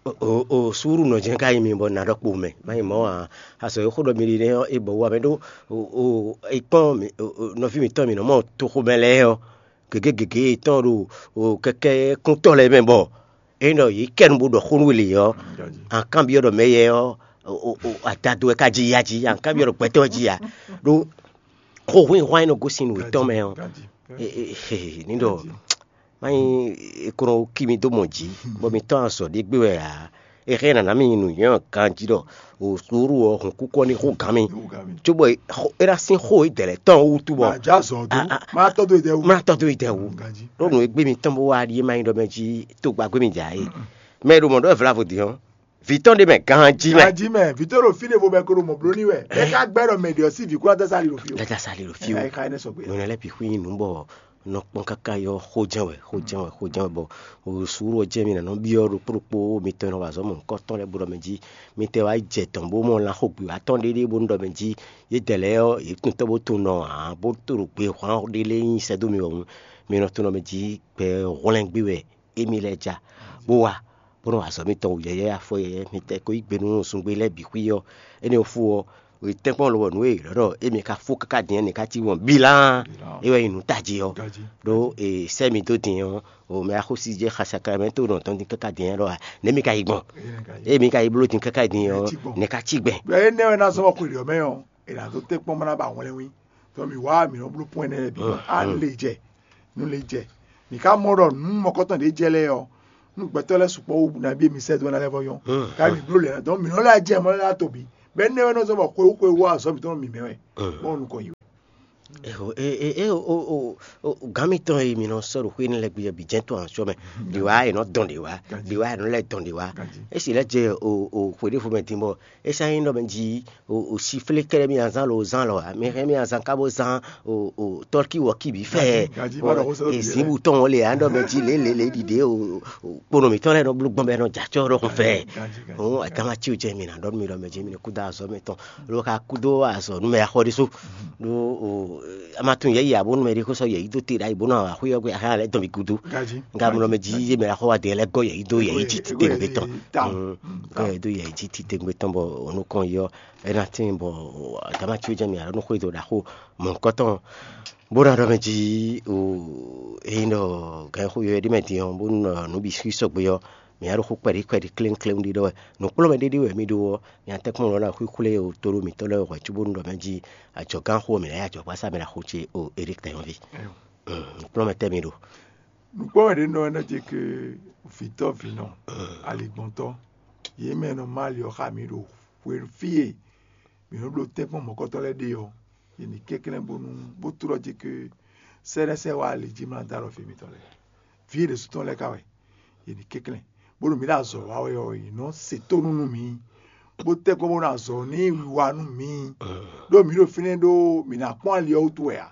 O o suuru nɔ jɛn ka yi mi bɔ na ɖɔ kpo mɛ ma yi mɔ a. Azɔ yi xó ɖɔ mi ɖi nɛ ɔ e bɔ wa mɛ ɖó o o ikpɔn mi o nɔvi mi tɔn mi nɔ mɔ toxo mɛ lɛ ɔ gege gege tɔn ɖo o kɛkɛ kúntɔ lɛ mɛ bɔ e nɔ yi kɛ nu bó ɖɔ xó nú le ɔ an kan biɔ ɖɔ mɛ yɛ ɔ o o adado wɛ ka ji ya ji an kan biɔ ɖɔ gbɛtɔ ji ya ɖó xó hwin hwan e nɔ gosin nu etɔn mɛ ɔ e e ni ɖɔ manyi e ko nɔ ki mi dó mɔ jí bɔ mi tɔn azɔ ɖé gbé wɛ ǎ. E hɛn nana mi nyi nǔnywɛ́ ɔ́ ganjí ɖɔ o suuru ɔ hǔn kúkú ɔ́ ní hú gǎn mi cóbɔ é ná sín xó e dɛ̌ lɛ́ɛ tɔn wútu bɔ Màjá zɔ dó. A- a- Má tɔ́ dó ìdẹ́wù. Má tɔ́ dó ìdɛ̀wù. Ganjí. Ɖó nǔ e gbé mi tɔn bó wá ɖíe má nyí ɖɔ mɛ jí tó gba gbé mi jà é. Mɛ e ɖo mɔ̌ ɖɔ è vla vo din ɔ́, vǐ tɔn ɖé mɛ ganjí mɛ. Ganjí mɛ, vǐ tɔn ɖo fí ɖé vo mɛ ko ɖo mɔ̌ bló ní wɛ. É ká gbɛ́ ɖɔ mɛ ɖě ɔ́ sí vǐ kúrú atá sali ɖo fí o. Lɛ́ ta sali ɖo fí o. Ɛ ká ɛnɛ sɔgbe. Nǔ lɛ́ bǐ xwí nyí nǔ bɔ nɔ kpɔ́n káká yɔ xó jɛ́n wɛ xó jɛ́n wɛ xó jɛ́n wɛ bɔ suúlu ɔ́ jɛ́n mi nǎ nɔ byɔ́ ɖokpó ɖokpó mitɔn e nɔ wa azɔ̌ mɔ̌hunkɔtɔn lɛ́ɛ bó ɖɔ mɛ jí mi tɛ wá jɛ tɔn bó mɔ lan xo gbě wá tɔn ɖéɖé bónú ɖɔ mɛ jí yědɛɛ lɛ́ɛ ɔ́ yě tunwun tɔ́ bó tunwun nɔ ǎ bó to ɖo gbe hwán ɖé lɛ́ɛ nyi sɛ́ dó mi wɛ hǔn mi nɔ tunwun ɖɔ mɛ jí gbɛ hwlɛ́ngbé wɛ émí lɛ́ɛ ja bó wá bó nɔ wa azɔ̌ mitɔn wǔ yɛ́yɛ́ afɔ yɛ́yɛ́ mi tɛ ko yí gbe nú zungbe lɛ́ɛ bǐ xwí ɔ́ énɛ́ ɔ́ fú ɔ́ tɛ́nkpɔ́n lobɔ nǔ e è ɖɔ ɖɔ émí ka fó káká din ɔ́, nǐ ká cí wɔn bílán. Bílán. É wɛ nyí nǔ tají ɔ́. Gají. Ɖó e sɛ́ mi dó din ɔ́, o mɛ axósí jɛ xa Sacramento nɔ tɔn din káká din ɔ́ ɖɔ a, nɛ̌ mi ka yi gbɔn? Émí ka yi. Émí ka yi bló din káká din ɔ́, Nɛ̌ cí gbɔn? Nɛ̌ ká cí gbɛn? Bɛ́ énɛ́ wɛ ná zɔ́n wɔ xwelǐ ɔ́ mɛ ɔ́, è nǎ dó tɛ́nkpɔ́n bó ná ba hwlɛ́nwí. Tɔ mǐ wá mǐ nɔ bló pɔ́n énɛ́ lɛ́ɛ bǐ gbɔn. Á nǔ le jɛ, nǔ le jɛ. Mǐ ka mɔ ɖɔ nǔ mɔkɔ́tɔn ɖě jɛ lɛ́ɛ ɔ́, Nú gbɛtɔ́ lɛ́ɛ sukpɔ́ wú nabí mi sɛ́ dó ná lɛ́ vɔ yɔ́n. Káyí mi bló lɛ̌ ná dɔn mi nɔ lɛ́ jɛ mɔ lɛ́ ná to bǐ. Bɛ́ nɛ́ wɛ nɔ zɔ́n bɔ xwe wú xwe wú azɔ̌ mǐtɔn nɔ mǐmɛ́ wɛ. Bɔn nukɔn yi wɛ. Gǎn mitɔn e mǐ nɔ sɔ́ ɖo xwé énɛ́ lɛ́ɛ gbe ɔ́ bǐ jɛ́n tɔn ǎ sɔ́ mɛ. Ɖě wá è nɔ dɔn ɖě wá, ɖě wá è nɔ lɛ́ dɔn ɖě wá. É sì lɛ́ jɛ xwe ɖěvo mɛ din bɔ é sɔ́ nyí ɖɔ mɛ jí o siflé kɛ́ɖɛ́ mì azán lo zán lɔ ǎ. Mi hɛn mì azán ká bó zán o tɔ́kí wɔ̌kí bǐ fɛ. Èzǐn butɔn ɔ́ le ǎ ɖɔ mɛ jí lě lě lě ɖiɖě o kponɔ mǐtɔn lɛ́ɛ nɔ bló gbɔn bɔ é nɔ jɛ acɔ́ ɖɔhun fɛ. Hǔn atama cí o jɛ mi ná ɖɔ nú mi ɖɔ mɛ jí mi ní kúdó azɔ̌ mɛ tɔn. Lo ka kúdó azɔ̌ nú mɛ axɔ ɖésú. Ɖó a ma tunwun yɛ̌yi ǎ bónú mɛ ɖé xó sɔ́ yɛ̌yi dó te ɖ'ayǐ bónú awǎ xwé ɔ́ gbe axá lɛ́ dɔn mi gúdo. Gǎ mɔ ɖɔ mɛ jí yé mɛ axɔ wa dě lɛ́ gɔ́ yɛ̌yi dó yɛ̌yi jí titewungbe tɔn. Gɔ́ yɛ̌yi dó yɛ̌yi jí titewungbe tɔn bɔ onukɔn yi ɔ́ é ná tín bɔ atama cí o jɛ mi ǎ nú xwé dó ɖaxó mɔ̌hunkɔtɔn. Bó ná ɖɔ mɛ jí o ényí ɖɔ gǎn xó yɔ ɖé mɛ din ɔ́ bónú nǔ bǐ xwí sɔgbe ɔ́, mǐ ná ɖo xó kpɛɖí kpɛɖí kléŋkléŋ ɖiɖɔ wɛ. Nǔkplɔ́nmɛ ɖé ɖé wɛ mì ɖó ɔ́, mǐ ná tɛ́nkpɔ́n lɔ̌ ná xwíxwlé o tóɖó mǐtɔn lɛ́ɛ hwɛ̌ cóbónú ɖɔ mɛ jí ajɔ̌gán xó mǐ ná yí ajɔ̌gbasá mɛ ná xó ce o Erik Tɛnyɔ́ví. Nǔkplɔ́nmɛ tɛ́ mi ɖo. Nǔkplɔ́nmɛ ɖé nɔ ɛ nɔ ce ke vǐtɔ́ vǐnɔ aligbɔntɔ́ yě mɛ nɔ má ali ɔ́ xá mǐ ɖo hwenu fí e mǐ nɔ bló tɛ́nkpɔ́n mɔ̌kɔtɔ́ lɛ́ɛ ɖe ɔ́, yě ní kɛnklɛ́n bónú bó tlɔ́ ce ke sɛ́ɖɛ́sɛ́ wá ali jí mlá dó alɔ fí mitɔn lɛ́ɛ. Vǐ e ɖésú tɔn lɛ́ɛ ka wɛ, yě ní kɛnklɛ́n, bónú mǐ ɖo azɔ̌ wa wɛ ɔ́, yě nɔ se tónú nú mǐ, bó tɛ́ kɔn bó nɔ azɔ̌ ní wiwa nú mǐ. Ɖó mǐ ɖo fínɛ́ ɖó mǐ ná kpɔ́n ali ɔ́ wútu wɛ ǎ.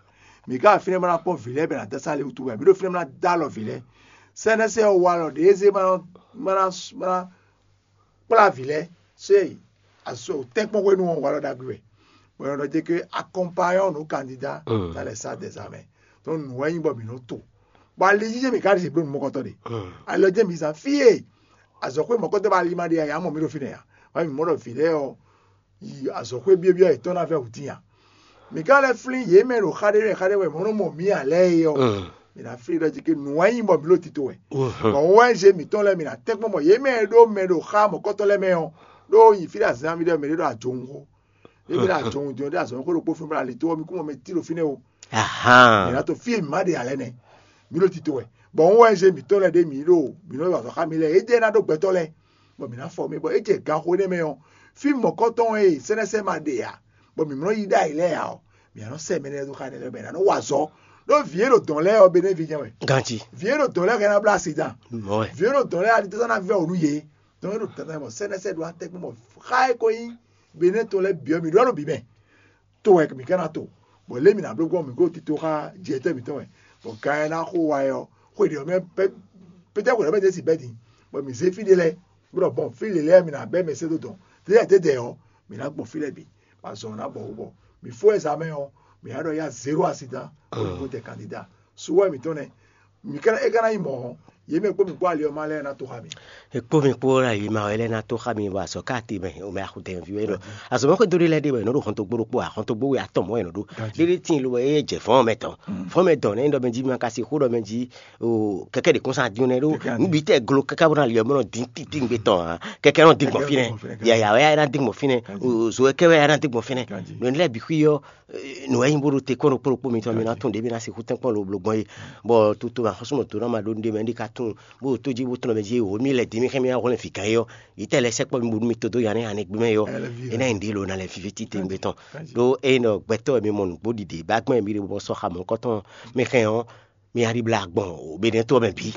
Mǐ ka ɖo fínɛ́ bó ná kpɔ́n vǐ lɛ́ɛ bɔ è nǎ dó asá ali wútu wɛ ǎ. Mǐ ɖo fínɛ́ bó ná dó alɔ vǐ lɛ́ɛ. Sɛ́nɛ́sɛ́ ɔ́ wa alɔ ɖě zé bó ná kplá vǐ lɛ́ɛ. Sɔ́ yi azɔ tɛ́nkpɔ́n hwenu ɔ́ walɔ ɖagbe wɛ. Bɔ è nɔ ɖɔ jɛ ke akɔmpanyɔn nǔ kandida ta lɛ sa dɛzamɛ. Tɔn nǔ wɛ nyí bɔ mǐ nɔ to. Bɔ ali jijɛ mǐ ka ɖe bló nǔmɔkɔtɔn ɖe. Ali ɔ́ jẹ́ mǐ zán fí e azɔ̌xwé mɔ̌kɔtɔn bɔ ali ma ɖe ǎ, yě á mɔ mǐ ɖo fínɛ́ ǎ. Wá mǐ mɔ ɖɔ vǐ lɛ́ɛ ɔ́ yi azɔ̌xwé byɔ́byɔ́ yětɔn ná vɛ́ hǔtín ǎ. Mǐ ka lɛ́ flín yě mɛ ɖo xa ɖé mɛ xa ɖé wɛ mɔ̌ nɔ mɔ mǐ ǎ lɛ́ɛ é ɔ́, mǐ ná flín ɖɔ jí ke nǔ wɛ nyí bɔ mǐ ɖo tito wɛ. Bɔ wɛnzé mǐtɔn lɛ́ɛ mǐ ná tɛ́nkpɔ́n mɔ yě mɛ e ɖó mɛ ɖo xá mɔ̌kɔtɔn lɛ́ɛ mɛ ɔ́, ɖó yi fí ɖo azǎn mì ɖɔ mɛ ɖé ɖo ajɔ̌wun xó. Yě mɛ ɖo ajɔ̌wun din ɔ́ ɖo azɔ̌wun xó ɖokpó fún mì ɖo ali tó ɔ́, mǐ kún mɔ mɛ tí ɖo fínɛ́ o. Mǐ ná to fí e mǐ má ɖe ǎ lɛ́ɛ nɛ́. Mǐ ɖo tito wɛ. Bɔ wɛnzé mǐtɔn lɛ́ɛ ɖé mǐ ɖo mǐ nɔ yi azɔ̌ xá mì lɛ́ɛ, é jɛ ná ɖó gbɛtɔ́ lɛ́ɛ. Bɔ mǐ ná fɔ mì bɔ é jɛ ganxó énɛ́ mɛ ɔ́, fí mɔ̌kɔtɔn e sɛ́nɛ́sɛ́ ma ɖe ǎ, bɔ mǐ mlɔ́ yi ɖ'ayǐ lɛ́ɛ ǎ ɔ́, mǐ ná nɔ sɛ́ mɛ énɛ́ lɛ́ɛ dó xá énɛ́ lɛ́ɛ bɔ è nǎ nɔ wa azɔ̌. Ɖó vǐ e ɖo dɔ̌n lɛ́ɛ ɔ́, Benévi jɛ́n wɛ. Ganjí. Vǐ e ɖo dɔ̌n lɛ́ɛ hɛn ná bló asi dan. Mɔ̌ wɛ. Vǐ e ɖo dɔ̌n lɛ́ɛ alitɔ́sán ná vɛ́ wǔ nú yě. Dɔ̌n e ɖo dandan bɔ sɛ́nɛ́sɛ́ ɖo atɛ́kpɔ́n bɔ xá e ko nyí Benɛ́ tɔn lɛ́ɛ bǐ ɔ́, mǐ ɖó alɔ bǐ mɛ. To wɛ mǐ ka ná to. Bɔ lě mǐ ná bló gbɔn mǐ kó tito xá jɛtɛ́ mǐtɔn wɛ. Bɔ gan e ná xo wa ɛ ɔ́, xwe ɖě ɔ́ mɛ pɛ́tɛ́ xwe ɖě ɔ́ mɛ ɖě si bɛ́ din. Bɔ mǐ zé fí ɖé lɛ́ɛ, bó ɖɔ bɔn fí lě lɛ́ɛ mǐ ná bɛ́ mɛ sɛ́ dó dɔn. Tɛ́ tɛ́ dɛ̌ ɔ́, mǐ ná gbɔn fí lɛ́ɛ bǐ. Bɔ azɔn ɔ́ ná bɔ wú bɔ mǐ fó wɛ zǎmɛ ɔ́, mǐ ná ɖɔ yá zéro asidan bó ní kó jɛ kandida. Suwɛ mǐtɔn nɛ́. Mǐ ka é ka ná nyí mɔ̌ ɔ́, yě mɛ kpó mǐ kpó ali ɔ́ má lɛ́ɛ ná tó xá mǐ. Ekpó mi kpó la yi ma wɛ lɛ́ ná tó xá mi bɔ azɔ̌ ká te mɛ o mɛ axutɛnvi wɛ nɔ. Azɔ̌ mɛ xwé dó ɖé lɛ́ɛ ɖé wɛ nɔ ɖo xɔntɔgbó ɖokpó a xɔntɔgbó wɛ atɔn mɔ̌ wɛ nɔ ɖó. Ɖéɖé tíin lo wɛ é jɛ fɔ́n mɛ tɔn. Fɔ́n mɛ dɔn nɛ ɖɔ mɛ jí ma ka si xó ɖɔ mɛ jí o kɛkɛ ɖe kɔn sa dín nɛ ɖó. Nǔ bǐ tɛ glo káká bó ná li ɔ́ mɛ nɔ dín títíngbe tɔn a kɛkɛ nɔ dín gbɔn fínɛ. Yaya wɛ ná dín gbɔn fínɛ. Zo wɛ kɛ wɛ ná dín gbɔn fínɛ. Nɔ ní lɛ́ bǐ xwí ɔ́ nǔ wɛ nyí bó ɖo te kɔn ɖokpó ɖokpó mitɔn mi ná tún ɖě mi ná sixú tɛ́nkpɔ́n lobló gbɔn é. Bɔ toto axɔ́súmɔtò ná ma ɖó nɖé mɛ ní ka tún bó tó jí bó tlɔ́n mɛ jí wǒ mi lɛ dǐ mi xɛn mi ná hwlɛ́n vǐ gán é ɔ́, yi tɛ lɛ sɛkpɔ́ mi bónú mi tó dó ya nɛ́ hanɛ gbé mɛ é ɔ́, é ná nyi ɖě lo ná lɛ fífí títewungbe tɔn. Ɖó ényí ɖɔ gbɛtɔ́ wɛ mi mɔ nǔgbó ɖiɖe bá gbɔn mi ɖe bɔ sɔ́ xa mɔ̌kɔtɔn mi xɛn ɔ́, mi ná ɖi blá gbɔn Benɛ́tɔ́ mɛ bǐ.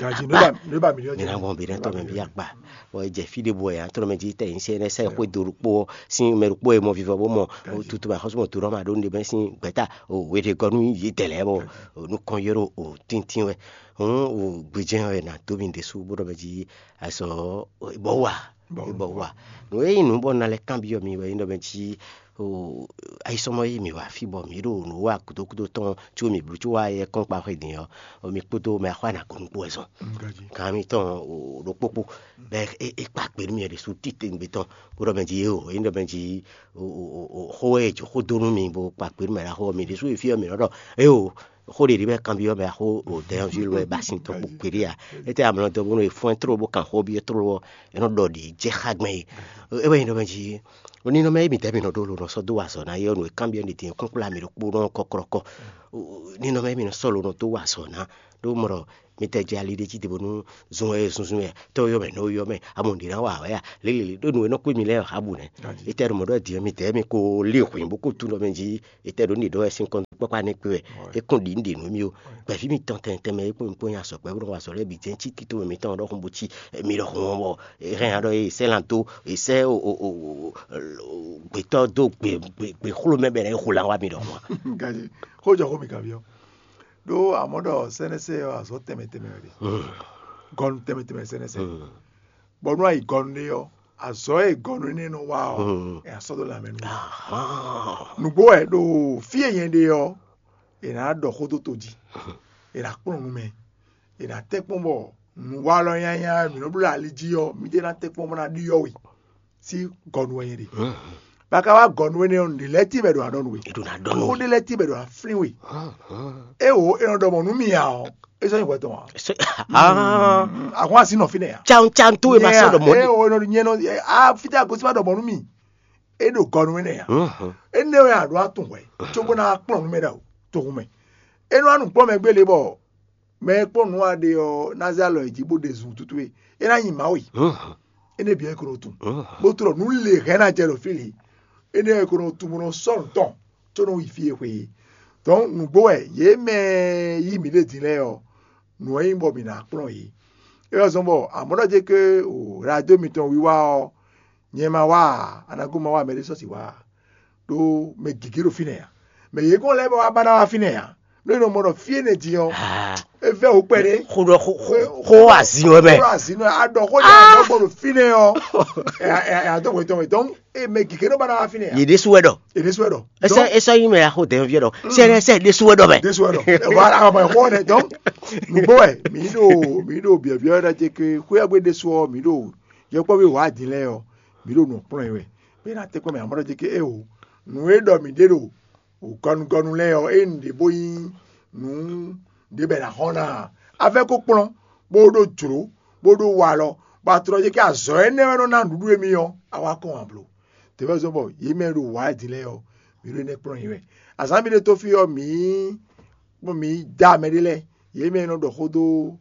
Mi ná gbɔn Benɛ́tɔ́ mɛ bǐ akpa. Bɔ è jɛ fí ɖěbǔ wɛ nya tɔn mɛ jí tɛ nyí sɛ́ sɛ́ xwé do ɖokpó ɔ́ sín mɛ ɖokpó e mɔ vivɔ bó mɔ tutu mɛ axɔ́súmɔtò ɖɔ ma ɖó nɖe mɛ sín gbɛ̌ta wěɖegɔ́ nú yě dɛ lɛ́ɛ bɔ nukɔn ylɔ́ o tíntín wɛ. Hǔn o gbejɛ́n wɛ nǎ dó mi ɖésú bó ɖɔ mɛ jí azɔ̌ bɔ wa bɔ wa. Nǔ e nyí nǔ bɔ un ná lɛ́ kanbyɔ́ mi wɛ nyí ɖɔ mɛ jí ayisɔmɔ e mǐ wa fí bɔ mǐ ɖo nǔ wa gúdo gúdo tɔn có mǐ blú có wá yɛ kɔ́nkpa xwedin ɔ́, mi kpódó mɛ axwá ná gɔ̌n nukún wɛ zɔn. Gǎn mitɔn ɖokpókpó bɔ é kpa kpe nú mì ɖésú titewungbe tɔn bó ɖɔ mɛ jí éo é ɖɔ mɛ jí xó e jǒ xó dó nú mi bó kpa kpe nú mɛ ɖaxó ɔ́, mi ɖésú yi fí ɔ́ mǐ nɔ ɖɔ éo xó ɖě ɖi bɛ kanbyɔ́ mɛ axó o dɛ́nvi wɛ ba sin tɔn kpo kpeɖé a. Étɛ́ amlɔ dɔ bónú è fɔ́n tló bó kan xó byɔ́ tló ɔ́, é nɔ ɖɔ ɖě jɛ xá gbɛn é. É wɛ nyí ɖɔ mɛ jí oninɔmɛ e mǐdɛɛ mǐ nɔ ɖó lo nɔ sɔ́ dó wa azɔ̌ ná é ɔ́, nǔ e kanbyɔ́ mi din kúnkplá mǐ ɖokpónɔ kɔ́klɔ́kɔ́. Ninɔmɛ mi nɔ sɔ́ lo nɔ dó wa azɔ̌ ná, ɖó mɔ ɖɔ mi tɛ jɛ ali ɖé jí te bónú zun wɛ zunzun wɛ tɔ́ yɔ mɛ nɔ yɔ mɛ amɔ ɖě ná wa wɛ a lélele ɖó nǔ e nɔ kpé mi lɛ́ɛ ɔ́ abu nɛ́. Etɛ ɖo mɔ̌ ɖɔ din ɔ́, mi tɛ mi ko lé hwǐn bó ko tún ɖɔ mɛ jí etɛ ɖo ní ɖɔ wɛ sín kɔn kpɔ́kpá ní kpé wɛ. É kún ɖi ní ɖe nǔ mì o. Gbɛ̌ví mitɔn tɛnmɛ tɛnmɛ e kpó mi kpó nya sɔkpɛ́ bó nɔ wa azɔ̌ lɛ́ɛ bǐ jɛ́n cí tito mitɔn ɖɔhun bó cí mi ɖɔhun ɔ́ bɔ é hɛn ɖɔ é sɛ́ lan dó é sɛ́ gbětɔ́ dó gběxló mɛ bɛ́ ná é hu lan wá mi ɖɔhun ǎ. Gaji, xó jɔ xó mi kanbyɔ́. Ɖó amɔ̌ ɖɔ sɛ́nɛsɛ ɔ́ azɔ̌ tɛnmɛ tɛnmɛ wɛ ɖe. Gɔnu tɛnmɛ tɛnmɛ sɛ́nɛsɛ. Bɔ nú a yi gɔnu ɖé ɔ́, azɔ̌ e gɔnu énɛ́ nɔ wa ɔ́, è nǎ sɔ́ dó lanmɛ nú we. Nǔgbó wɛ ɖo fí e nyɛ ɖe ɔ́, è nǎ ɖɔ xó dó to jí, è nǎ kplɔ́n nú mɛ, è nǎ tɛ́ kpɔ́n bɔ nǔwalɔ nyanya e mǐ nɔ bló ali jí ɔ́, mǐ ɖě ná tɛ́ kpɔ́n bó ná ɖyɔ́ we. Sín gɔnu wɛ nyɛ ɖe. Ba ka wá gɔnu énɛ́ ɔ́, nǔɖé lɛ́ɛ tíin bɛ ɖo aɖɔ nú we. È ɖo ná ɖɔ nú Xó we. Ɖé lɛ́ɛ tíin bɛ ɖo aflín we. Éwo è nɔ ɖɔ mɔ̌ nú mì ǎ ɔ́, é sɔ́ nyí hwɛ tɔn ǎ. Ahɔn asi nɔ fínɛ́ ǎ. Can can tó e ma sɔ́ ɖɔ mɔ̌ ɖe. Éwo è nɔ nyɛ nɔ a fítɛ́ agosí ma ɖɔ mɔ̌ nú mì. É ɖo gɔnu énɛ́ ǎ. Énɛ́ wɛ a ɖǒ atún hwɛ cóbó ná kplɔ́n nú mɛ ɖo toxun mɛ. É nɔ wá nǔ kplɔ́n mɛ gbélé bɔ mɛ e kpɔ́n nǔ wa ɖe ɔ́ ná zé alɔ yi jí bó ɖe zun tútú e é ná nyi Mawu yi. Énɛ́ bǐ wɛ è ko nɔ tunwun. Bó tlɔ nǔ le hɛn ná jɛ ɖo fí lě. Énɛ́ wɛ è ko nɔ tunwun bó nɔ sɔ́ nǔ tɔn có nɔ yi fí e xwe é. Dɔ̌n nǔgbó wɛ yě mɛ e yí mǐ ɖe din lɛ́ɛ ɔ́, nǔ wɛ nyí bɔ mǐ ná kplɔ́n yě. É wɛ zɔ́n bɔ amɔ̌ ɖɔ jɛ ké o radio mitɔn wiwa ɔ́, nyɛ ma wá ǎ, anago ma wá mɛɖé sɔ́ sixú wá ǎ. Ɖó mɛ gěgé ɖo fínɛ́ ǎ. Mɛ yě kɔn lɛ́ɛ bɔ wá ba ná wá fínɛ́ ǎ. Nú è nɔ mɔ ɖɔ fí énɛ́ din ɔ́, é vɛ́ wǔ kpɛɖé. Xó ɖɔ xó xó xó azin wɛ mɛ. Xó azin wɛ a ɖɔ xó ɖe a ɖɔ gbɔ ɖo fínɛ́ ɔ́, ɛ ɛ ɛ adó wetɔn wetɔn. E mɛ gěgé nɔ ba ná wá fínɛ́ ǎ. Yě ɖésú wɛ ɖɔ. Yě ɖésú wɛ ɖɔ. Ɛsɛ ɛsɛ yi mɛ axo dɛn viɛ ɖɔ. Sɛ ɛsɛ ɖésú wɛ ɖɔ mɛ. Ɖésú wɛ ɖɔ. Voilà, ɔmɔ ɛxɔ nɛ dɔn. Nugbo wɛ mi ɖo mi ɖo biɔbiɔ ɖe ce ke xóyɛgbé ɖésú ɔ mi ɖo yɔkpɔvi wà dín lɛ ɔ mi ɖo nɔ kplɔn yi wɛ. Pe na tɛkpɔ mɛ amɔ ɖe ce ke e o. Nu e ɖɔ mi ɖe ɖo gɔnugɔnu lɛ ɔ e nu ɖe bo yi nu ɖe bɛ na xɔ na. Afɛ ko kplɔn bo ɖo jlo bo ɖo walɔ. Ba trɔ ce ke azɔ ɛnɛ wɛ nɔ na nuɖuɖu emi ɔ awa kɔn ablo. Tɛvɛ zɔn bɔ yi mɛ ɖo wà din lɛ ɔ mi ɖo nɛ kplɔn yi wɛ. Azan mi ɖe to fi ɔ mi kpɔn mi da mɛ ɖe lɛ. Yi mɛ nɔ ɖɔ xó dó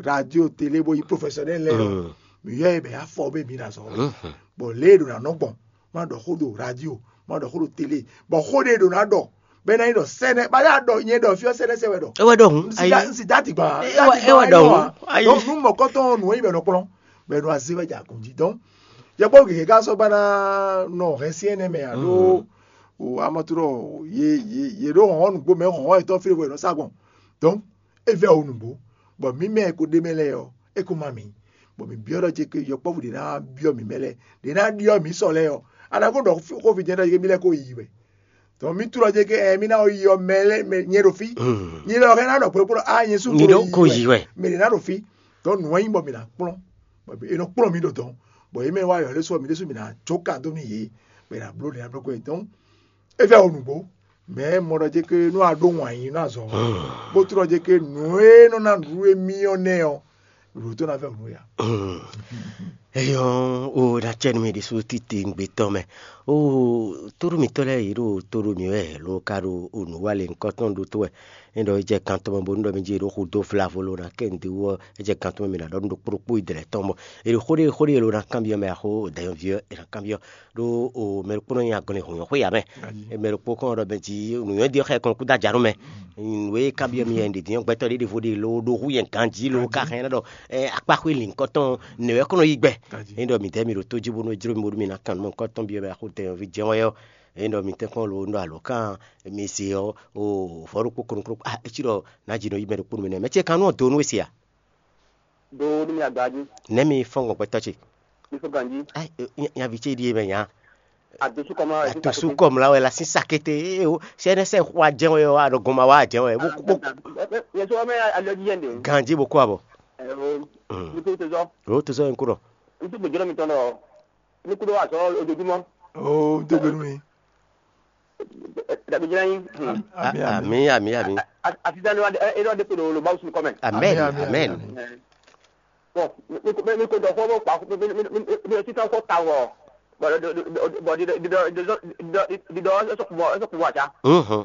radio télé bo yi professionnel lɛ ɔ mi yɔ yi bɛ afɔ be mi na zɔ. Bɔ lé ɖo na nɔ gbɔn ma ɖɔ xó do radio ma ɖɔ xó do télé bɔ xó ɖe ɖo na ɖɔ bɛ na yi ɖɔ sɛnɛ ba ya ɖɔ nyɛ ɖɔ fiɔ sɛnɛ sɛ wɛ ɖɔ. Ewɛ ɖɔ hun. Ayi. Nsi dati gba. Ewɛ ewɛ ɖɔ hun. Ayi. Donc nu mɔkɔtɔn nu yi bɛ nɔ kplɔn bɛ nu azi wɛ ja kun ji donc yɛkpɔ gege ka sɔ ba na nɔ hɛn si ɛnɛ mɛ alo o amaturɔ ye ye ye ɖo hɔn nugbo mɛ hɔn etɔn fi wɛ nɔ sa gbɔn donc e vɛ o nugbo bɔn mi mɛ ko ɖe mɛ lɛ yɔ e ko ma mi bɔn mi biɔ ɖɔ ce ke yɔkpɔvu ɖe na biɔ mi mɛ lɛ ɖe na ɖiɔ mi sɔ lɛ yɔ ana ko ɖɔ xo fi jɛ ɖɔ ce ke mi lɛ ko yi wɛ donc mi tu ɖɔ ce ke ɛ mi na yi yɔ mɛ lɛ mɛ nyɛ ɖo fi nyɛ lɛ ɔkɛ na ɖɔ kpekpe ɖɔ a nyɛ su Nyi ɖo ko yi wɛ. Mɛ ɖe na ɖo fi donc nu wa nyi bɔ mi na kplɔn bɔn e nɔ kplɔn mi ɖo dɔn bɔn ye mɛ wa yɔ lɛ sɔ mi ɖe su mi na jo ka do mi ye bɛ na blo ɖe na blo ko ye donc e fɛ o nugbo mɛ mɔ ɖɔ ce ke nu a ɖo wan yi na zɔ bó tu ɖɔ ce ke nu e nɔ na nu e mi ɔ nɛ ɔ ɖo tó na fɛ o nu ya. Eyɔn o na cɛ nu mi ɖi su titi ŋgbe tɔn mɛ o toɖo mitɔ lɛ yi ɖo toɖo mi wɛ lo ka ɖo o nu wa le ŋkɔ tɔn ɖo to wɛ ne ɖɔ e jɛ kan tɔn mɛ bonu ɖɔ mi ji ɖo xu do flavo lo na kɛ ŋdi wɔ e jɛ kan tɔn mɛ mi na ɖɔ nu ɖo kpokpo idrɛ tɔn bɔ e ɖo xo ɖe xo ɖe lo na kanbiɔ mɛ axo dayɔn viɔ e na kanbiɔ ɖo o mɛ ɖokpo nɔ nyi agɔnlin hɔnyɔn xwe ya mɛ mɛ ɖokpo kɔn ɖɔ mɛ ji nuyɔn di xɛ kɔn kú da ja nú mɛ nue kanbiɔ mi yɛ ɖe dinyɔ gbɛtɔ ɖe ɖevo ɖe lo ɖo hu yɛ ganji lo ka hɛn ɖɔ akpaxwe lin kɔtɔn newɛ kɔnɔ yi gbɛ ne ɖɔ mi dɛ mi ɖo to ji bonu ejro mi bonu mi na kan mɔ kɔtɔn biɔ mɛ axo dayɔn vi jɛn wɛ yɔ ne ɖɔ mi tɛ kɔn lo ɖo alo kan mi se ɔ o vɔ ɖokpo kɔnɔ kɔnɔ ah etsi ɖɔ na ji nɔ yi mɛ ɖokpo nɔ mi nɛ mɛ tse kan nɔ do nú esi a do ɖo mi agba jí. Nɛ mi fɔn gbɔn gbɛtɔ ce. Mi fɔ ganji. Ai, nyavi ce ɖie mɛ nya. Adosu kɔmla wɛ. Adosu kɔmla wɛ la sin sakete. Ee o sɛ ne sɛ xɔ ajɛ wɛ o aɖɔ gɔnma wa ajɛ wɛ. Yɛ sɔ mɛ alɔ jí yɛn de. Ganji bo kɔ abɔ. Ɛɛ o. Mi ko tezɔ. O tezɔ yɛn ko dɔ. N tún gbèjọ́ mi tɔn dɔ. Mi ko dɔ wa sɔ ojoojúmọ́. O n tó gbẹnu mi. Dàbí jẹ́ yín. Ami ami ami ami. Àti sani wa ẹ ẹ dẹ́kun ló ló bá wùsùn kọ́mẹ̀. Amen amen. Bɔn mi ko dɔ fɔ bɔ kpa mi mi mi mi mi sisan fɔ ta wɔ bɔn didɔ didɔ didɔ didɔ didɔ ɛsɛ kun bɔ ɛsɛ kun bɔ àṣà. Mhm.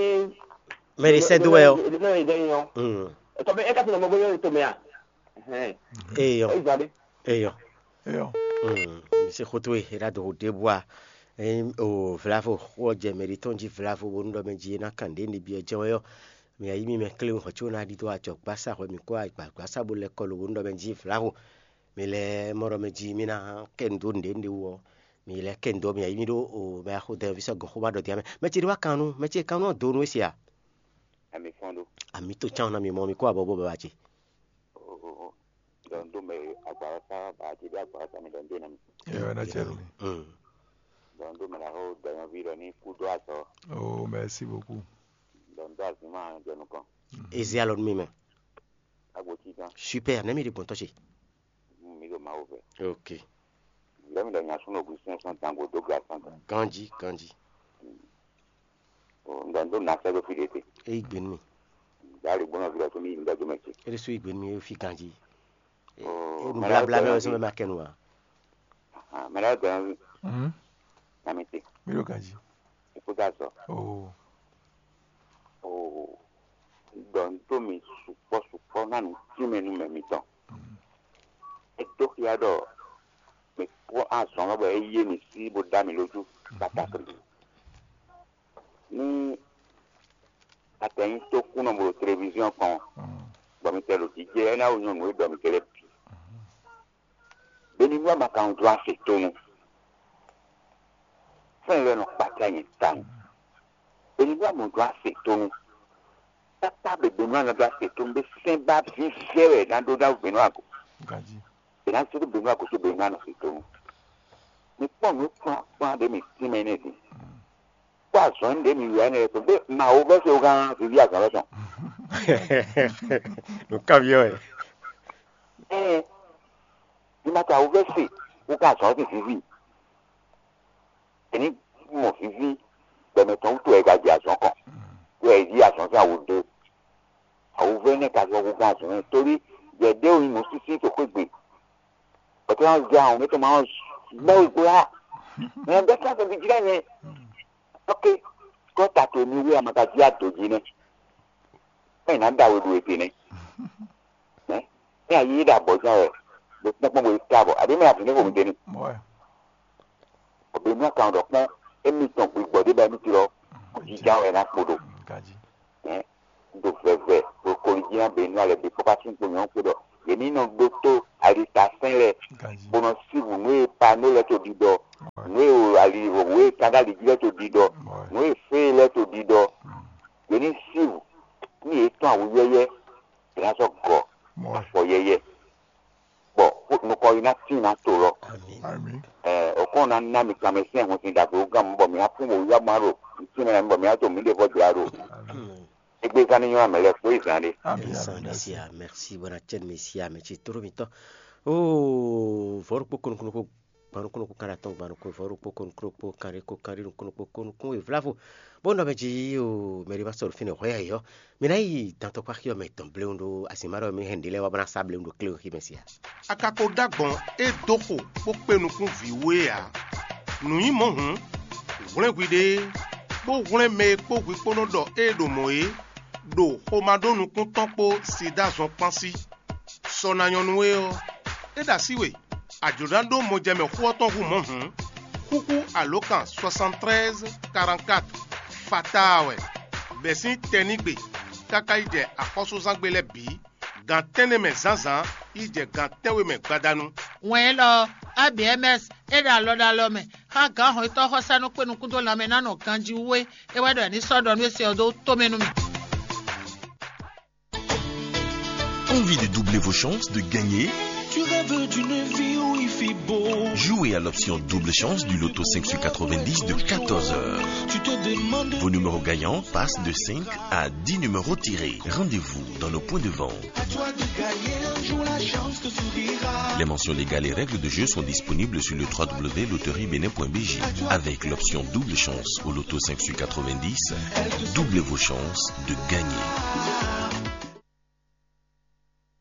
nyí mɛ ɖe sɛ́ dó wɛ ɔ́. Ɖe sɛ́ dó wɛ ɔ́. Mm. Etɔ́ bɛ é ka ti nɔ mɔ bó nyɔ́ to mɛ a? Hɛn. Eyɔ. Eyi zan ɖe. Eyɔ. Eyɔ. Mm. Mi se xótó e é ɖá do ɖěbǔ a? Ényí o vlavo xó ɔ́ jɛ mɛ ɖé tɔn jí vlavo bónú ɖɔ mɛ jí é ná kan ɖě ní byɔ́ jɛ́n wɛ ɔ́, mi yí mi mɛ kléwún hɔn có ná ɖidó ajɔ̌gbásá hwɛ mi kó agbǎgbásá bó lɛ́ kɔ lo bónú ɖɔ mɛ jí vlavo. Mi lɛ́ mɔ ɖɔ mɛ jí mi ná kɛ nu dó nǔɖé nǔɖé wú ɔ́, mi lɛ́ kɛ nu dó mi yí mi ɖó o mɛ axo dɛ́nvi sɔ́ gɔ̌n xó ma ɖɔ din amɛ. Mɛ ce ɖé wá kan nú, mɛ ce kan nú ɔ́ do nú é se a? Ami fɔ́n ɖó. Ami tó cán ná mi mɔ mi kó abɔ bó baba ce. Ɖɔ n dó mɛ agbawasa baaji ɖé agbawasa mi ɖɔ n dó ná mi. Eyo, ena cɛ mi. Mm. Ɖɔ n dó mɛ la xó dɔnyɔvi ɖɔ ní kú dó azɔ. Oh, merci beaucoup. Ɖɔ n dó azima jɔ nukɔn. Ezi alɔ nú mi mɛ. Agbo tí tán. Super, nɛ́ mi ɖi gbɔn tɔ́ ce. Mm, mi ɖo Mawu vɛ. Ok. Lɛ́ mi ɖɔ nya súnɔ gu sɛn sɔn dango dó ga sɔn tán. Ganji, ganji. Ŋdɔ n dó na sɛ́ ɖó fí ɖé te. Eyi gbe nú mi. Dali gbɔnɔ vi ɖɔ tó mi yi ŋdɔ dó mɛ ce. Ele sú yi gbe nú mi fi ganji. Oh, o nu mɛ la blabla mɛ wɛ sɔn mɛ ma kɛ nu wa. Ah, mɛ la gbɔnɔ vi. Mhm. Na mi te. Mi ɖo ganji. Ikú dá sɔ. Oh. Oh. Ŋdɔ n dó mi sukpɔ sukpɔ na nu tí mɛ nú mɛ mitɔn. Mhm. É dó xia ɖɔ mi kpɔ́n azɔn lɔ bɔ é yé mi sí bó dá mi lójú kpátákli. Ní atɛnyí tó kúnɔ bo ɖo televiziɔn kɔn, bɔ mi tɛ ɖo jijɛ, é ná wú nyɔnu e ɖɔ mi kɛlɛ bǐ. Benibua ma ka ŋu dó ase tónú. Fɛn lɛ nɔ kpata nyɛ tawun. Benibua mɔ dó ase tónú. Tata bɛ Benua nɔ dó ase tónú bɛ sɛn ba vívɛ wɛ ná ɖó ná Benua go. Ganji. Bɛ ná sɔ́ dó Benua go tó Benua nɔ se tónú. Mi kpɔn nǔ kplɔ́n kplɔ́n ɖé mi tínmɛ nɛ́ din. Kpɔ́ azɔ̌ ɖé mi wɛ nɛ́ kpɔ́n bɛ ma wo vɛ́ se wo gán viví azɔ̌ lɔ tɔn. Nǔ kanbyɔ́ wɛ. Ɛɛ, mi ma ta wo vɛ́ se wo gán azɔ̌ lɔ tɔn viví. Ɛni mɔ viví gbɛmɛ tɔn wútu wɛ è ka jɛ azɔ̌ kɔn, wɛ è yí azɔ̌ sín awu dó. Awuvɛ́ nɛ́ ka zɔ́ hú gán azɔ̌ nɛ́, tórí jɛ ɖé wú nyí nǔsísí to xwé gbe. Bɔtɔ́ ná zɛ ahɔn mɛ tɔn ma ɔ́ gbɛ́ wú gbó yá. Mɛ bɛ́ sɛ́n sɛn jlɛ́ nyɛ. Ok, kɔ́ ta to mi wé a ma ka jí ado jí nɛ́. Mɛ ná da we ɖu ete nɛ́. Mɛ mɛ ayi yi ɖo abɔ̌ zán wɛ, bó tɛ́nkpɔ́n bo yi ká bɔ, abǐ mɛ avǐ ní xo mi dé ní. Ouais. Nya kan ɖɔ kpɔ́n émítɔn gbigbɔ ɖé ba émí tlɔ, jija wɛ ná kpo ɖo. Hɛn, ɖo vɛvɛ ɖo koli jí ná bɛ nú alɛ bí kpɔkpá sín kpo nyɔ̌ kpo ɖɔ yě ní nɔ ɖótó alitasɛn lɛ bó nɔ sívu nǔ e pa nú lɛ to ɖiɖɔ, nǔ e o ali wǒ e kan ɖó ali jí lɛ to ɖiɖɔ, nǔ e fé lɛ to ɖiɖɔ. Yě ní sívu ní yě tɔn awu yɛ́yɛ́, yě ná sɔ́ gɔ afɔ yɛ́yɛ́, bɔ nukɔn yi ná tín ná to lɔ. Ɛ, òkɔn ná ná mi kanmɛ sín ahun sin ɖagbe wú gán mɔ bɔ mi ná fún wǒyíwá má ɖo tín mɛ bɔ mi ná to mǐɖée vɔ jlá ɖo. Égbé zán ní nyɔ́ amɛ lɛ́ɛ kpó yi zán ɖé. Amém. Sandisia, merci, bona tienne Messia, merci toro mitɔ. Oh, vɔrukpo konukunukpo gbanukun nukún kan ɖo atɔn gbanukun vɔ̌ ɖokpó kɔn nukún ɖokpó kan ɖé kó kan ɖé nukún ɖokpó kó nukún wěvlávo. Bó nɔ mɛ jí o mɛ ɖé ma sɔ́ ɖo fínɛ́ hwɛ yɔ̌yɔ́. Mi ná yi dantɔkpá xyɔ mɛ tɔn bléwún ɖó azǐnma ɖɔ mi hɛn nǔɖé lɛ́ɛ wá bó ná sá bléwún ɖo kléwún xí mɛ sí a? Akako ɖó agbɔ̌n e dó xo bó kpé nukún vǐ we ǎ. Nǔ nyí mɔ̌ hǔn, hwlɛ́n hwiɖée, bó hwlɛ́n mɛ e kpó hwi kpó nɔ ɖɔ ée ɖo mɔ̌ é, ɖo xomá ɖó nukún tɔn kpó Sidáa zɔn kpán sí. Sɔ ná nyɔ́ nú we ɔ́, é ɖo así we, a jlǒ ná ɖó mɔjɛmɛ xó ɔ́ tɔn hú mɔ̌ hǔn, xúxú alǒkan soixante-treize quarante-quatre fataa wɛ, bɛ̌ sín tɛnígbe káká yi jɛ axɔ́súzángbe lɛ́ɛ bǐ, gan tɛ́nnɛ mɛ zǎnzǎn yi jɛ gan tɛ́nwe mɛ gbadanu. Wɛn élɔ́ ɔ́, A B M S é ɖo alɔ ɖo alɔ mɛ xá gǎn hɔnnyitɔ́ xɔsánú kpé nukún dó lanmɛ ná nɔ ganjí wú é. É wɛ ɖɔ è ní sɔ́ ɖɔ nú é se ɔ́ dó tó mɛ nú mì. Envie de doubler vos chances de gagner ? Tu rêves d'une vie où il fait beau. Jouez à l'option double chance du loto cinq sur quatre-vingt-dix de quatorze heures. Tu te demandes. Vos numéros gagnants passent de cinq à dix numéros tirés. Rendez-vous dans nos points de vente. À toi de gagner un jour la chance te sourira. Les mentions légales et règles de jeu sont disponibles sur le trois w loterie bénin point b j. Avec l'option double chance au loto cinq sur quatre-vingt-dix, doublez vos chances de gagner.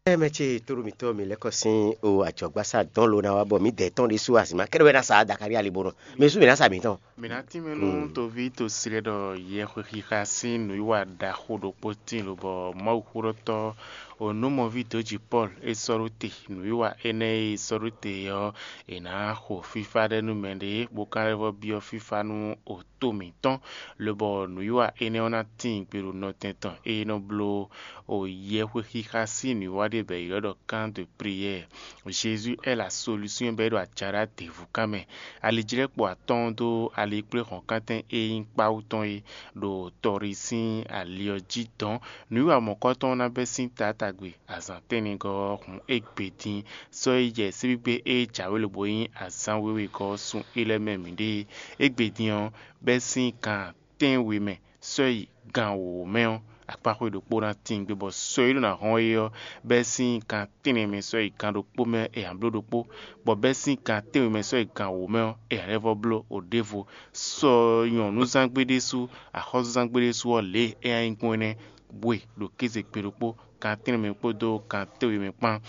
Ɛ mɛ ce tóɖó mitɔ́ mi lɛ́ kɔ sín o ajɔ̌gbásá dɔn lo ná wá bɔ mǐ dɛ tɔn ɖésú azǐma kɛ́ɖɛ́ wɛ ná sa Dakali alibonɔ mɛ sú mǐ ná sa mǐtɔn. Mǐ ná tínmɛ nú toví tosi lɛ́ɛ ɖɔ yɛhwexixa sín nǔwiwa ɖaxó ɖokpó tíin lobɔ Mawuxóɖɔtɔ́ onúmɔví dǒji Pɔ́lu é sɔ́ ɖó te. Nǔwiwa énɛ́ e é sɔ́ ɖó te ɔ́, è nǎ xo fífá ɖɛ nú mɛɖé bó ka lɛ́ vɔ́ byɔ́ fífá nú oto mǐtɔn, lobɔ nǔwiwa énɛ́ ɔ́ ná tíin gbe ɖo nɔtɛn tɔn e é nɔ bló o yɛhwexixa sín nǔwiwa ɖé bɔ è ylɔ́ ɖɔ kan de priyɛ́ɛ. Jésus est la solution bɔ é ɖo ajaɖá děvúkan mɛ. Alijlɛ́kpo atɔ́ɔ́n dó alikpléhɔ̌nkántɛn e nyí kpáwú tɔn é ɖo tɔɖi sín ali ɔ́ jí dɔn. Nǔwiwa mɔ̌kɔ́tɔn ɔ́ ná bɛ́ sín taátagbe azǎn tɛ́nnɛgɔ́ ɔ́ hun égbé dín. Sɔ́ yi jɛ síbígbe e jǎwe lobo nyí azǎn wěwegɔ́ ɔ́ sun é lɛ́ɛ mɛ mǐɖée. Égbé dín ɔ́, bɛ́ sín gan tɛ́nwe mɛ sɔ́ yi gan wǒ mɛ ɔ́, akpáxwé ɖokpó ná tíin gbe, bɔ sɔ e ɖó ná hɔn é ɔ́, bɛ́ sín gan tɛ́nnɛ mɛ sɔ́ yi gan ɖokpó mɛ é ǎ bló ɖokpó, bɔ bɛ́ sín gan tɛ́nwe mɛ sɔ́ yi gan wǒ mɛ ɔ́, é ǎ lɛ́ vɔ́ bló o ɖěvo. Sɔ nyɔ̌nuzángbe ɖésú, axɔ́súzángbe ɖésú ɔ́, lě e é ná nyí gbɔn énɛ́ bwe ɖo kéze gbe ɖokpó, gan tɛ́nnɛ mɛ kpódó gan tɛ́nwe mɛ kpán.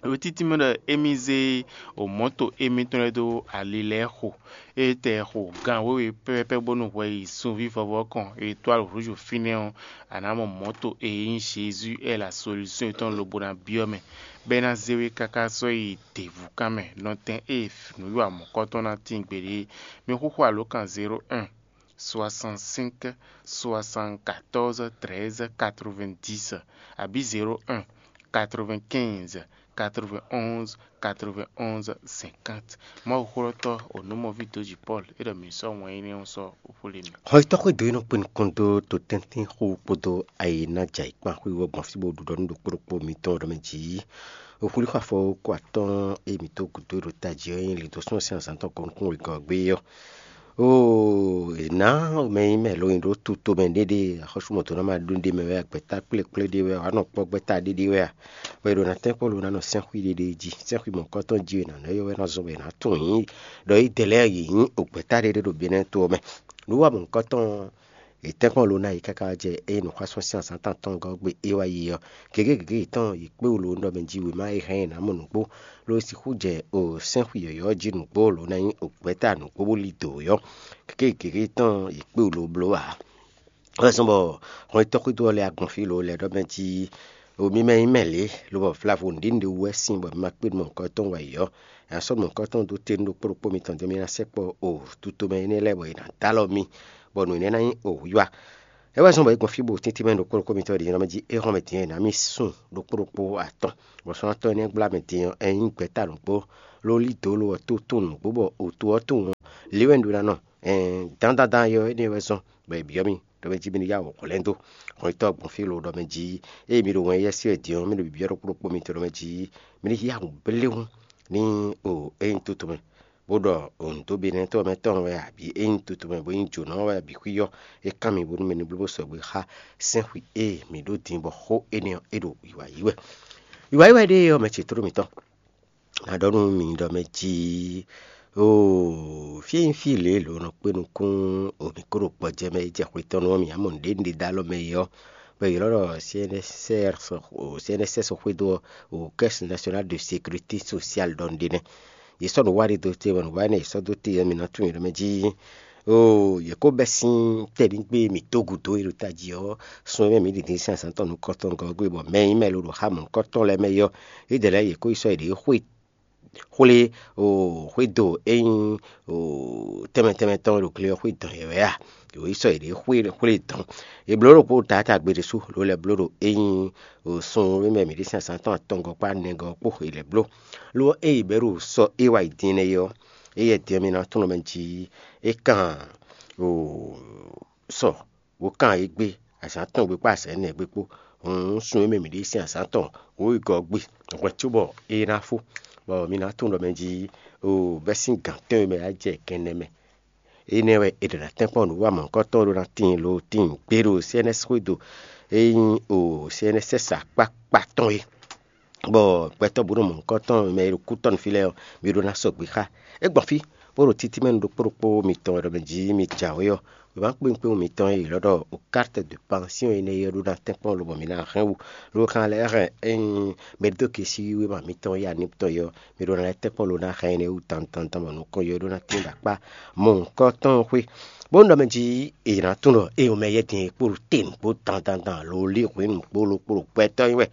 Ɖo títí mɛ ɖɔ émí zé o mɔ̌to émítɔn lɛ́ɛ dó ali lɛ́ɛ xo. Ée tɛ xo gan wěwe pɛ́pɛ́pɛ́ bónú hwɛ yi sunví vɔvɔ kɔn e tó alɔ hǔzú fínɛ́ ɔ́, a nǎ mɔ mɔ̌to e nyí Jezu é la solúsyɔn tɔn lobo ná byɔ́ mɛ, bɔ é ná zé we káká sɔ́ yi děvúkan mɛ nɔtɛn e nǔwiwa mɔ̌kɔtɔn ná tíin gbeɖé é. Mi xúxú alǒkan zéro un, soixante-cinq, soixante-quatorze, treize, quatre-vingt-dix, abǐ zéro un, quatre-vingt-quinze, quatre-vingt-onze, quatre-vingt-onze, cinquante. Mawuxólɔ́tɔ́ onǔmɔví dǒji Pɔ́lu é ɖɔ mǐ sɔ́ wɛn énɛ́ ɔ́ sɔ́ xwlé mì. Xɔ yi tɔxwé dó é nɔ kpé nukɔn dó to tɛ́ntin xó kpódó ayi ná jɛ ayǐkpan xwé wɛ gbɔn fí bó ɖu ɖɔ nú ɖokpó ɖokpó mitɔn ɖɔ mɛ jǐ. Oxwlíxɔ afɔ kó atɔ́ɔ́n e mǐ tó gǔdo ɖo tají ɔ́ nyí lǐndɔ̌n sín azǎn tɔn kɔn nukún wegɔ́ ɔ́ gbé ɔ́. Oo, è nǎ mɛ nyí mɛ lo nyi ɖó tuto mɛ ɖéɖé, axɔ́sú mɔ̌to ná ma ɖó ɖé mɛ wɛ a, gbɛ̌ta kplékplé ɖé wɛ a, wǎ nɔ kpɔ́ gbɛ́ta ɖéɖé wɛ a, bɔ è ɖo ná tɛ́nkpɔ́n lo ná nɔ sɛ́nxwí ɖéɖé jí, sɛ́nxwí mɔ̌kɔ́tɔn jí è nǎ nɔ yɔ wɛ ná zɔn bɔ è nǎ tunwun yǐ, ɖɔ yí dɛ lɛ́ɛ yě nyí o gbɛ̌ta ɖéɖé ɖo Benɛ́ɛ to ɔ́ mɛ. Nǔ wa mɔ̌kɔ́tɔn è tɛ́nkpɔ́n lo ná yě káká jɛ ée nǔxwásún sín azǎn tántɔn gɔ́ gbe é wá yi ɔ́, gěgé gěgé yětɔn yě kpé wú lo nú ɖɔ mɛ jí wěma e hɛn ɛ nǎ mɔ nǔgbó, ló sixú jɛ o sɛ́nxwi yɔ̌yɔ́ jí nǔgbó lǒ ná nyí o gbɛ̌ta nǔgbó bó lí dǒ yɔ́. Gěgé gěgé tɔn yě kpé wú ló bló ǎ. Wɛ zɔ́n bɔ hɔn e tɔ́xwé dó ɔ́ lɛ́ɛ agbɔn fí lǒ lɛ́ ɖɔ mɛ jí o mi mɛ nyí mɛ lě, lobɔ vlavo nǔɖé nǔɖé wú wɛ sín bɔ mi ma kpé nú mɔ̌hunkɔ tɔn wɛ yɔ́. È nǎ sɔ́ nǔ mɔ̌hunkɔtɔn dó te nú ɖokpó ɖokpó mitɔn din, mi ná sɛkpɔ́ o tutome énɛ́ lɛ́ɛ bɔ è nǎ dó alɔ mi, bɔ nǔ énɛ́ ná nyí o wiwa. É wɛ zɔ́n bɔ é gbɔn fí bɔ tíntímɛ ɖokpó ɖokpó mitɔn ɖě nyí ɔ́ mɛ jí é hɔn mɛ din ɔ́, è nǎ mì sun ɖokpó ɖokpó atɔn, bɔ sɔ́ ná tɔ́ énɛ́ gbla mɛ din ɔ́, ɛ nyí gbɛ̌ta nǔgbó, ló lí dǒ lo ɔ́ tó tunwun nǔgbó bɔ o to ɔ́ tunwun ɔ́, lě wɛ un ɖó ná nɔ. Ɛn dandandan yɔ énɛ́ wɛ zɔ́n bɔ è byɔ́ mì ɖɔ mɛ jí mi ní yá wǔ hwlɛ́n dó. Hɔn yi tɔ́ gbɔn fí lo ɖɔ mɛ jí, ée mi ɖo wɛn yɛ́ sí wɛ din ɔ́, mi ɖo byɔ́ ɖokpó ɖokpó mitɔn ɖɔ mɛ jí mi ní yá wǔ bléwún ní o é nyí toto mɛ, bó ɖɔ nǔdóbenɛtɔ́ mɛ tɔn wɛ abǐ é nyí toto mɛ bó nyí jǒnɔ wɛ abǐ xwí ɔ́, é kán mi bónú mi ní bló bó sɔgbe xá sɛ́nxwi e mǐ ɖó din bɔ xó énɛ́ ɔ́ é ɖo wǐwá yí wɛ. Wǐwá yí wɛ ɖée ɔ́, mɛ ce tló mǐtɔn ná ɖɔ nú mi ɖɔ mɛ jí, oo, fí e nyí fí lě lǒ nɔ kpé nukún o mǐ kó ɖo gbɔjɛ mɛ e jɛ xwe tɔn nu ɔ́, mǐ ná mɔ nǔɖé nǔɖé dó alɔ mɛ é ɔ́, bɔ è ylɔ́ ɖɔ C N S R, C N S S xwedó ɔ́, o Caisse Nationale de Sécurité Sociale ɖɔ nǔɖé nɛ́. Yě sɔ́ nǔ wa ɖé dó te, bɔ nǔ wa énɛ́ è sɔ́ dó te ɔ́, mi ná tunwun yě ɖɔ mɛ jí, oo, yě kó bɛ́ sín tɛ́nǐgbe e mǐ dó gǔdo é ɖo tají ɔ́, sun e mɛ mǐ ɖi din sín azǎn tɔn nukɔntɔn gɔ́ gbé, bɔ mɛ e nyí mɛ e lo ɖo xá mɔ̌hunkɔtɔn lɛ́ɛ mɛ é ɔ́, é ɖe lɛ́ɛ yě kó yi sɔ́ yěɖée xwé xwlé o xwédo e nyí o tɛnmɛ tɛnmɛ tɔn e ɖo gle ɔ́ xwé dɔn yě wɛ a? Yě yi sɔ́ yěɖée xwé xwlé dɔn. È blǒ ɖokpó taátagbe ɖésú, lǒ lɛ́ bló ɖo e nyí o sun e mɛ mǐ ɖe sín azǎn tɔn atɔngɔ́ kpó anɛgɔ́ kpó è lɛ́ bló. Lo ɔ́, ée yě bɛ́ ɖo sɔ e wá yi din énɛ́ é ɔ́, éyɛ́ din ɔ́ mi ná tunwun mɛ jí é kan o sɔ bó kan yě gbé, azǎn tɔn gbe kpó azǎn énɛ́ gbe kpó. Hǔn sun e mɛ mǐ ɖe sín azǎn tɔn wǒ yi gɔ́ gbe hwɛ cóbɔ é ná fó, bɔ mi ná tunwun ɖɔ mɛ jí o bɛ́ sín gǎn tɔn e mɛ ná jɛ kɛnɛ mɛ. Énɛ́ wɛ è ɖǒ ná tɛ́nkpɔ́n nǔ wa mɔ̌hunkɔtɔn ɖó ná tíin lo tíin gbé ɖo C N S xwédo e nyí o C N S S akpákpá tɔn é. Bɔ gbɛtɔ́ bǔ ɖo mɔ̌hunkɔtɔn mɛ e ɖo kú tɔn fí lɛ́ɛ ɔ́, mi ɖó ná sɔgbe xá. É gbɔn fí bó ɖo títí mɛ nu ɖokpó ɖokpó mitɔn wɛ ɖɔ mɛ jí mi jǎwe ɔ́, wěma kpéwún kpéwún mitɔn e è ylɔ́ ɖɔ o carte de pension énɛ́ é ɔ́ ɖó ná tɛ́nkpɔ́n lobɔ mi ná hɛn wú. Lo kan lɛ́ hɛn ényí mɛ ɖó ke sí wěma mitɔn ya ní tɔn é ɔ́, mi ɖó ná lɛ́ tɛ́nkpɔ́n lo ná hɛn énɛ́ wú dandan dandan bɔ nukɔn yɔ é ɖó ná tín ɖo akpá mɔ̌hunkɔtɔn xwé. Bó ɖɔ mɛ jí è nǎ tunwun ɖɔ é o mɛ yɛ́ din e kpó ɖo te nǔgbó dandan dan lo lí hwǐn nǔgbó lo kpó ɖo gbɛtɔ́ nyi wɛ.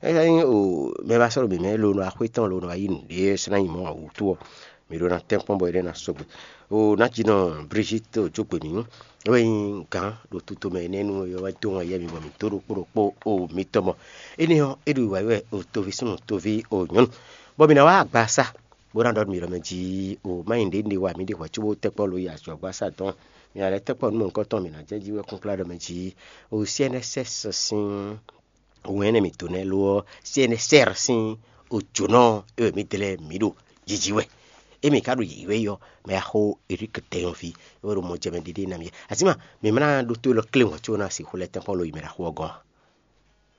É ká nyí o mɛ ba sɔ́ ɖo mǐmɛ́ lo nɔ axwé tɔn lo nɔ wá yí nǔɖé ɔ́, é sɔ́ ná nyí mɔ̌ ǎ wútu ɔ́, mǐ ɖó ná tɛ́nkpɔ́n bɔ énɛ́ ná sɔgbe. O Nájínɔ Brigitte Ojógběmí wɛ nyí gǎn ɖo tutomɛ énɛ́ nu, é wɛ dó ŋɔ yɛ mi bɔ mǐ dó ɖokpó ɖokpó o mitɔn mɔ. Énɛ́ ɔ́, é ɖo wǎ wɛ o toví súnnu toví o nyɔ̌nu, bɔ mǐ ná wá agbaza bó ná ɖɔ nú mǐ ɖɔ mɛ jí o má nyí nǔɖé nǔɖé wa mǐ ɖe hwɛ̌ cóbó tɛ́kpɔ́ lo yi azɔ̌gbasá dɔn. Mǐ ná lɛ́ tɛ́kpɔ́ nú mɔ̌hunkɔtɔn, mǐ ná jɛ jí wɛ kúnklá ɖɔ mɛ jí o C N S S sín wɛ̌n énɛ́ mǐtɔn nɛ́ lo ɔ́, C N S R sín ojǒnɔ e wɛ mǐ dlɛ́ mǐ ɖo jiji wɛ. Émí ka ɖo yǐyí wɛ yi ɔ́, mɛ axó Erik Dɛnyɔ́ví é wɛ ɖo mɔ jɛ mɛ ɖiɖi ná mì. Azǐma, mǐ má ná ɖótó élɔ́ kléwɔn có ná sixú lɛ́ tɛ́nkpɔ́n lo yi mɛ ɖo axó ɔ́ gɔ́n a?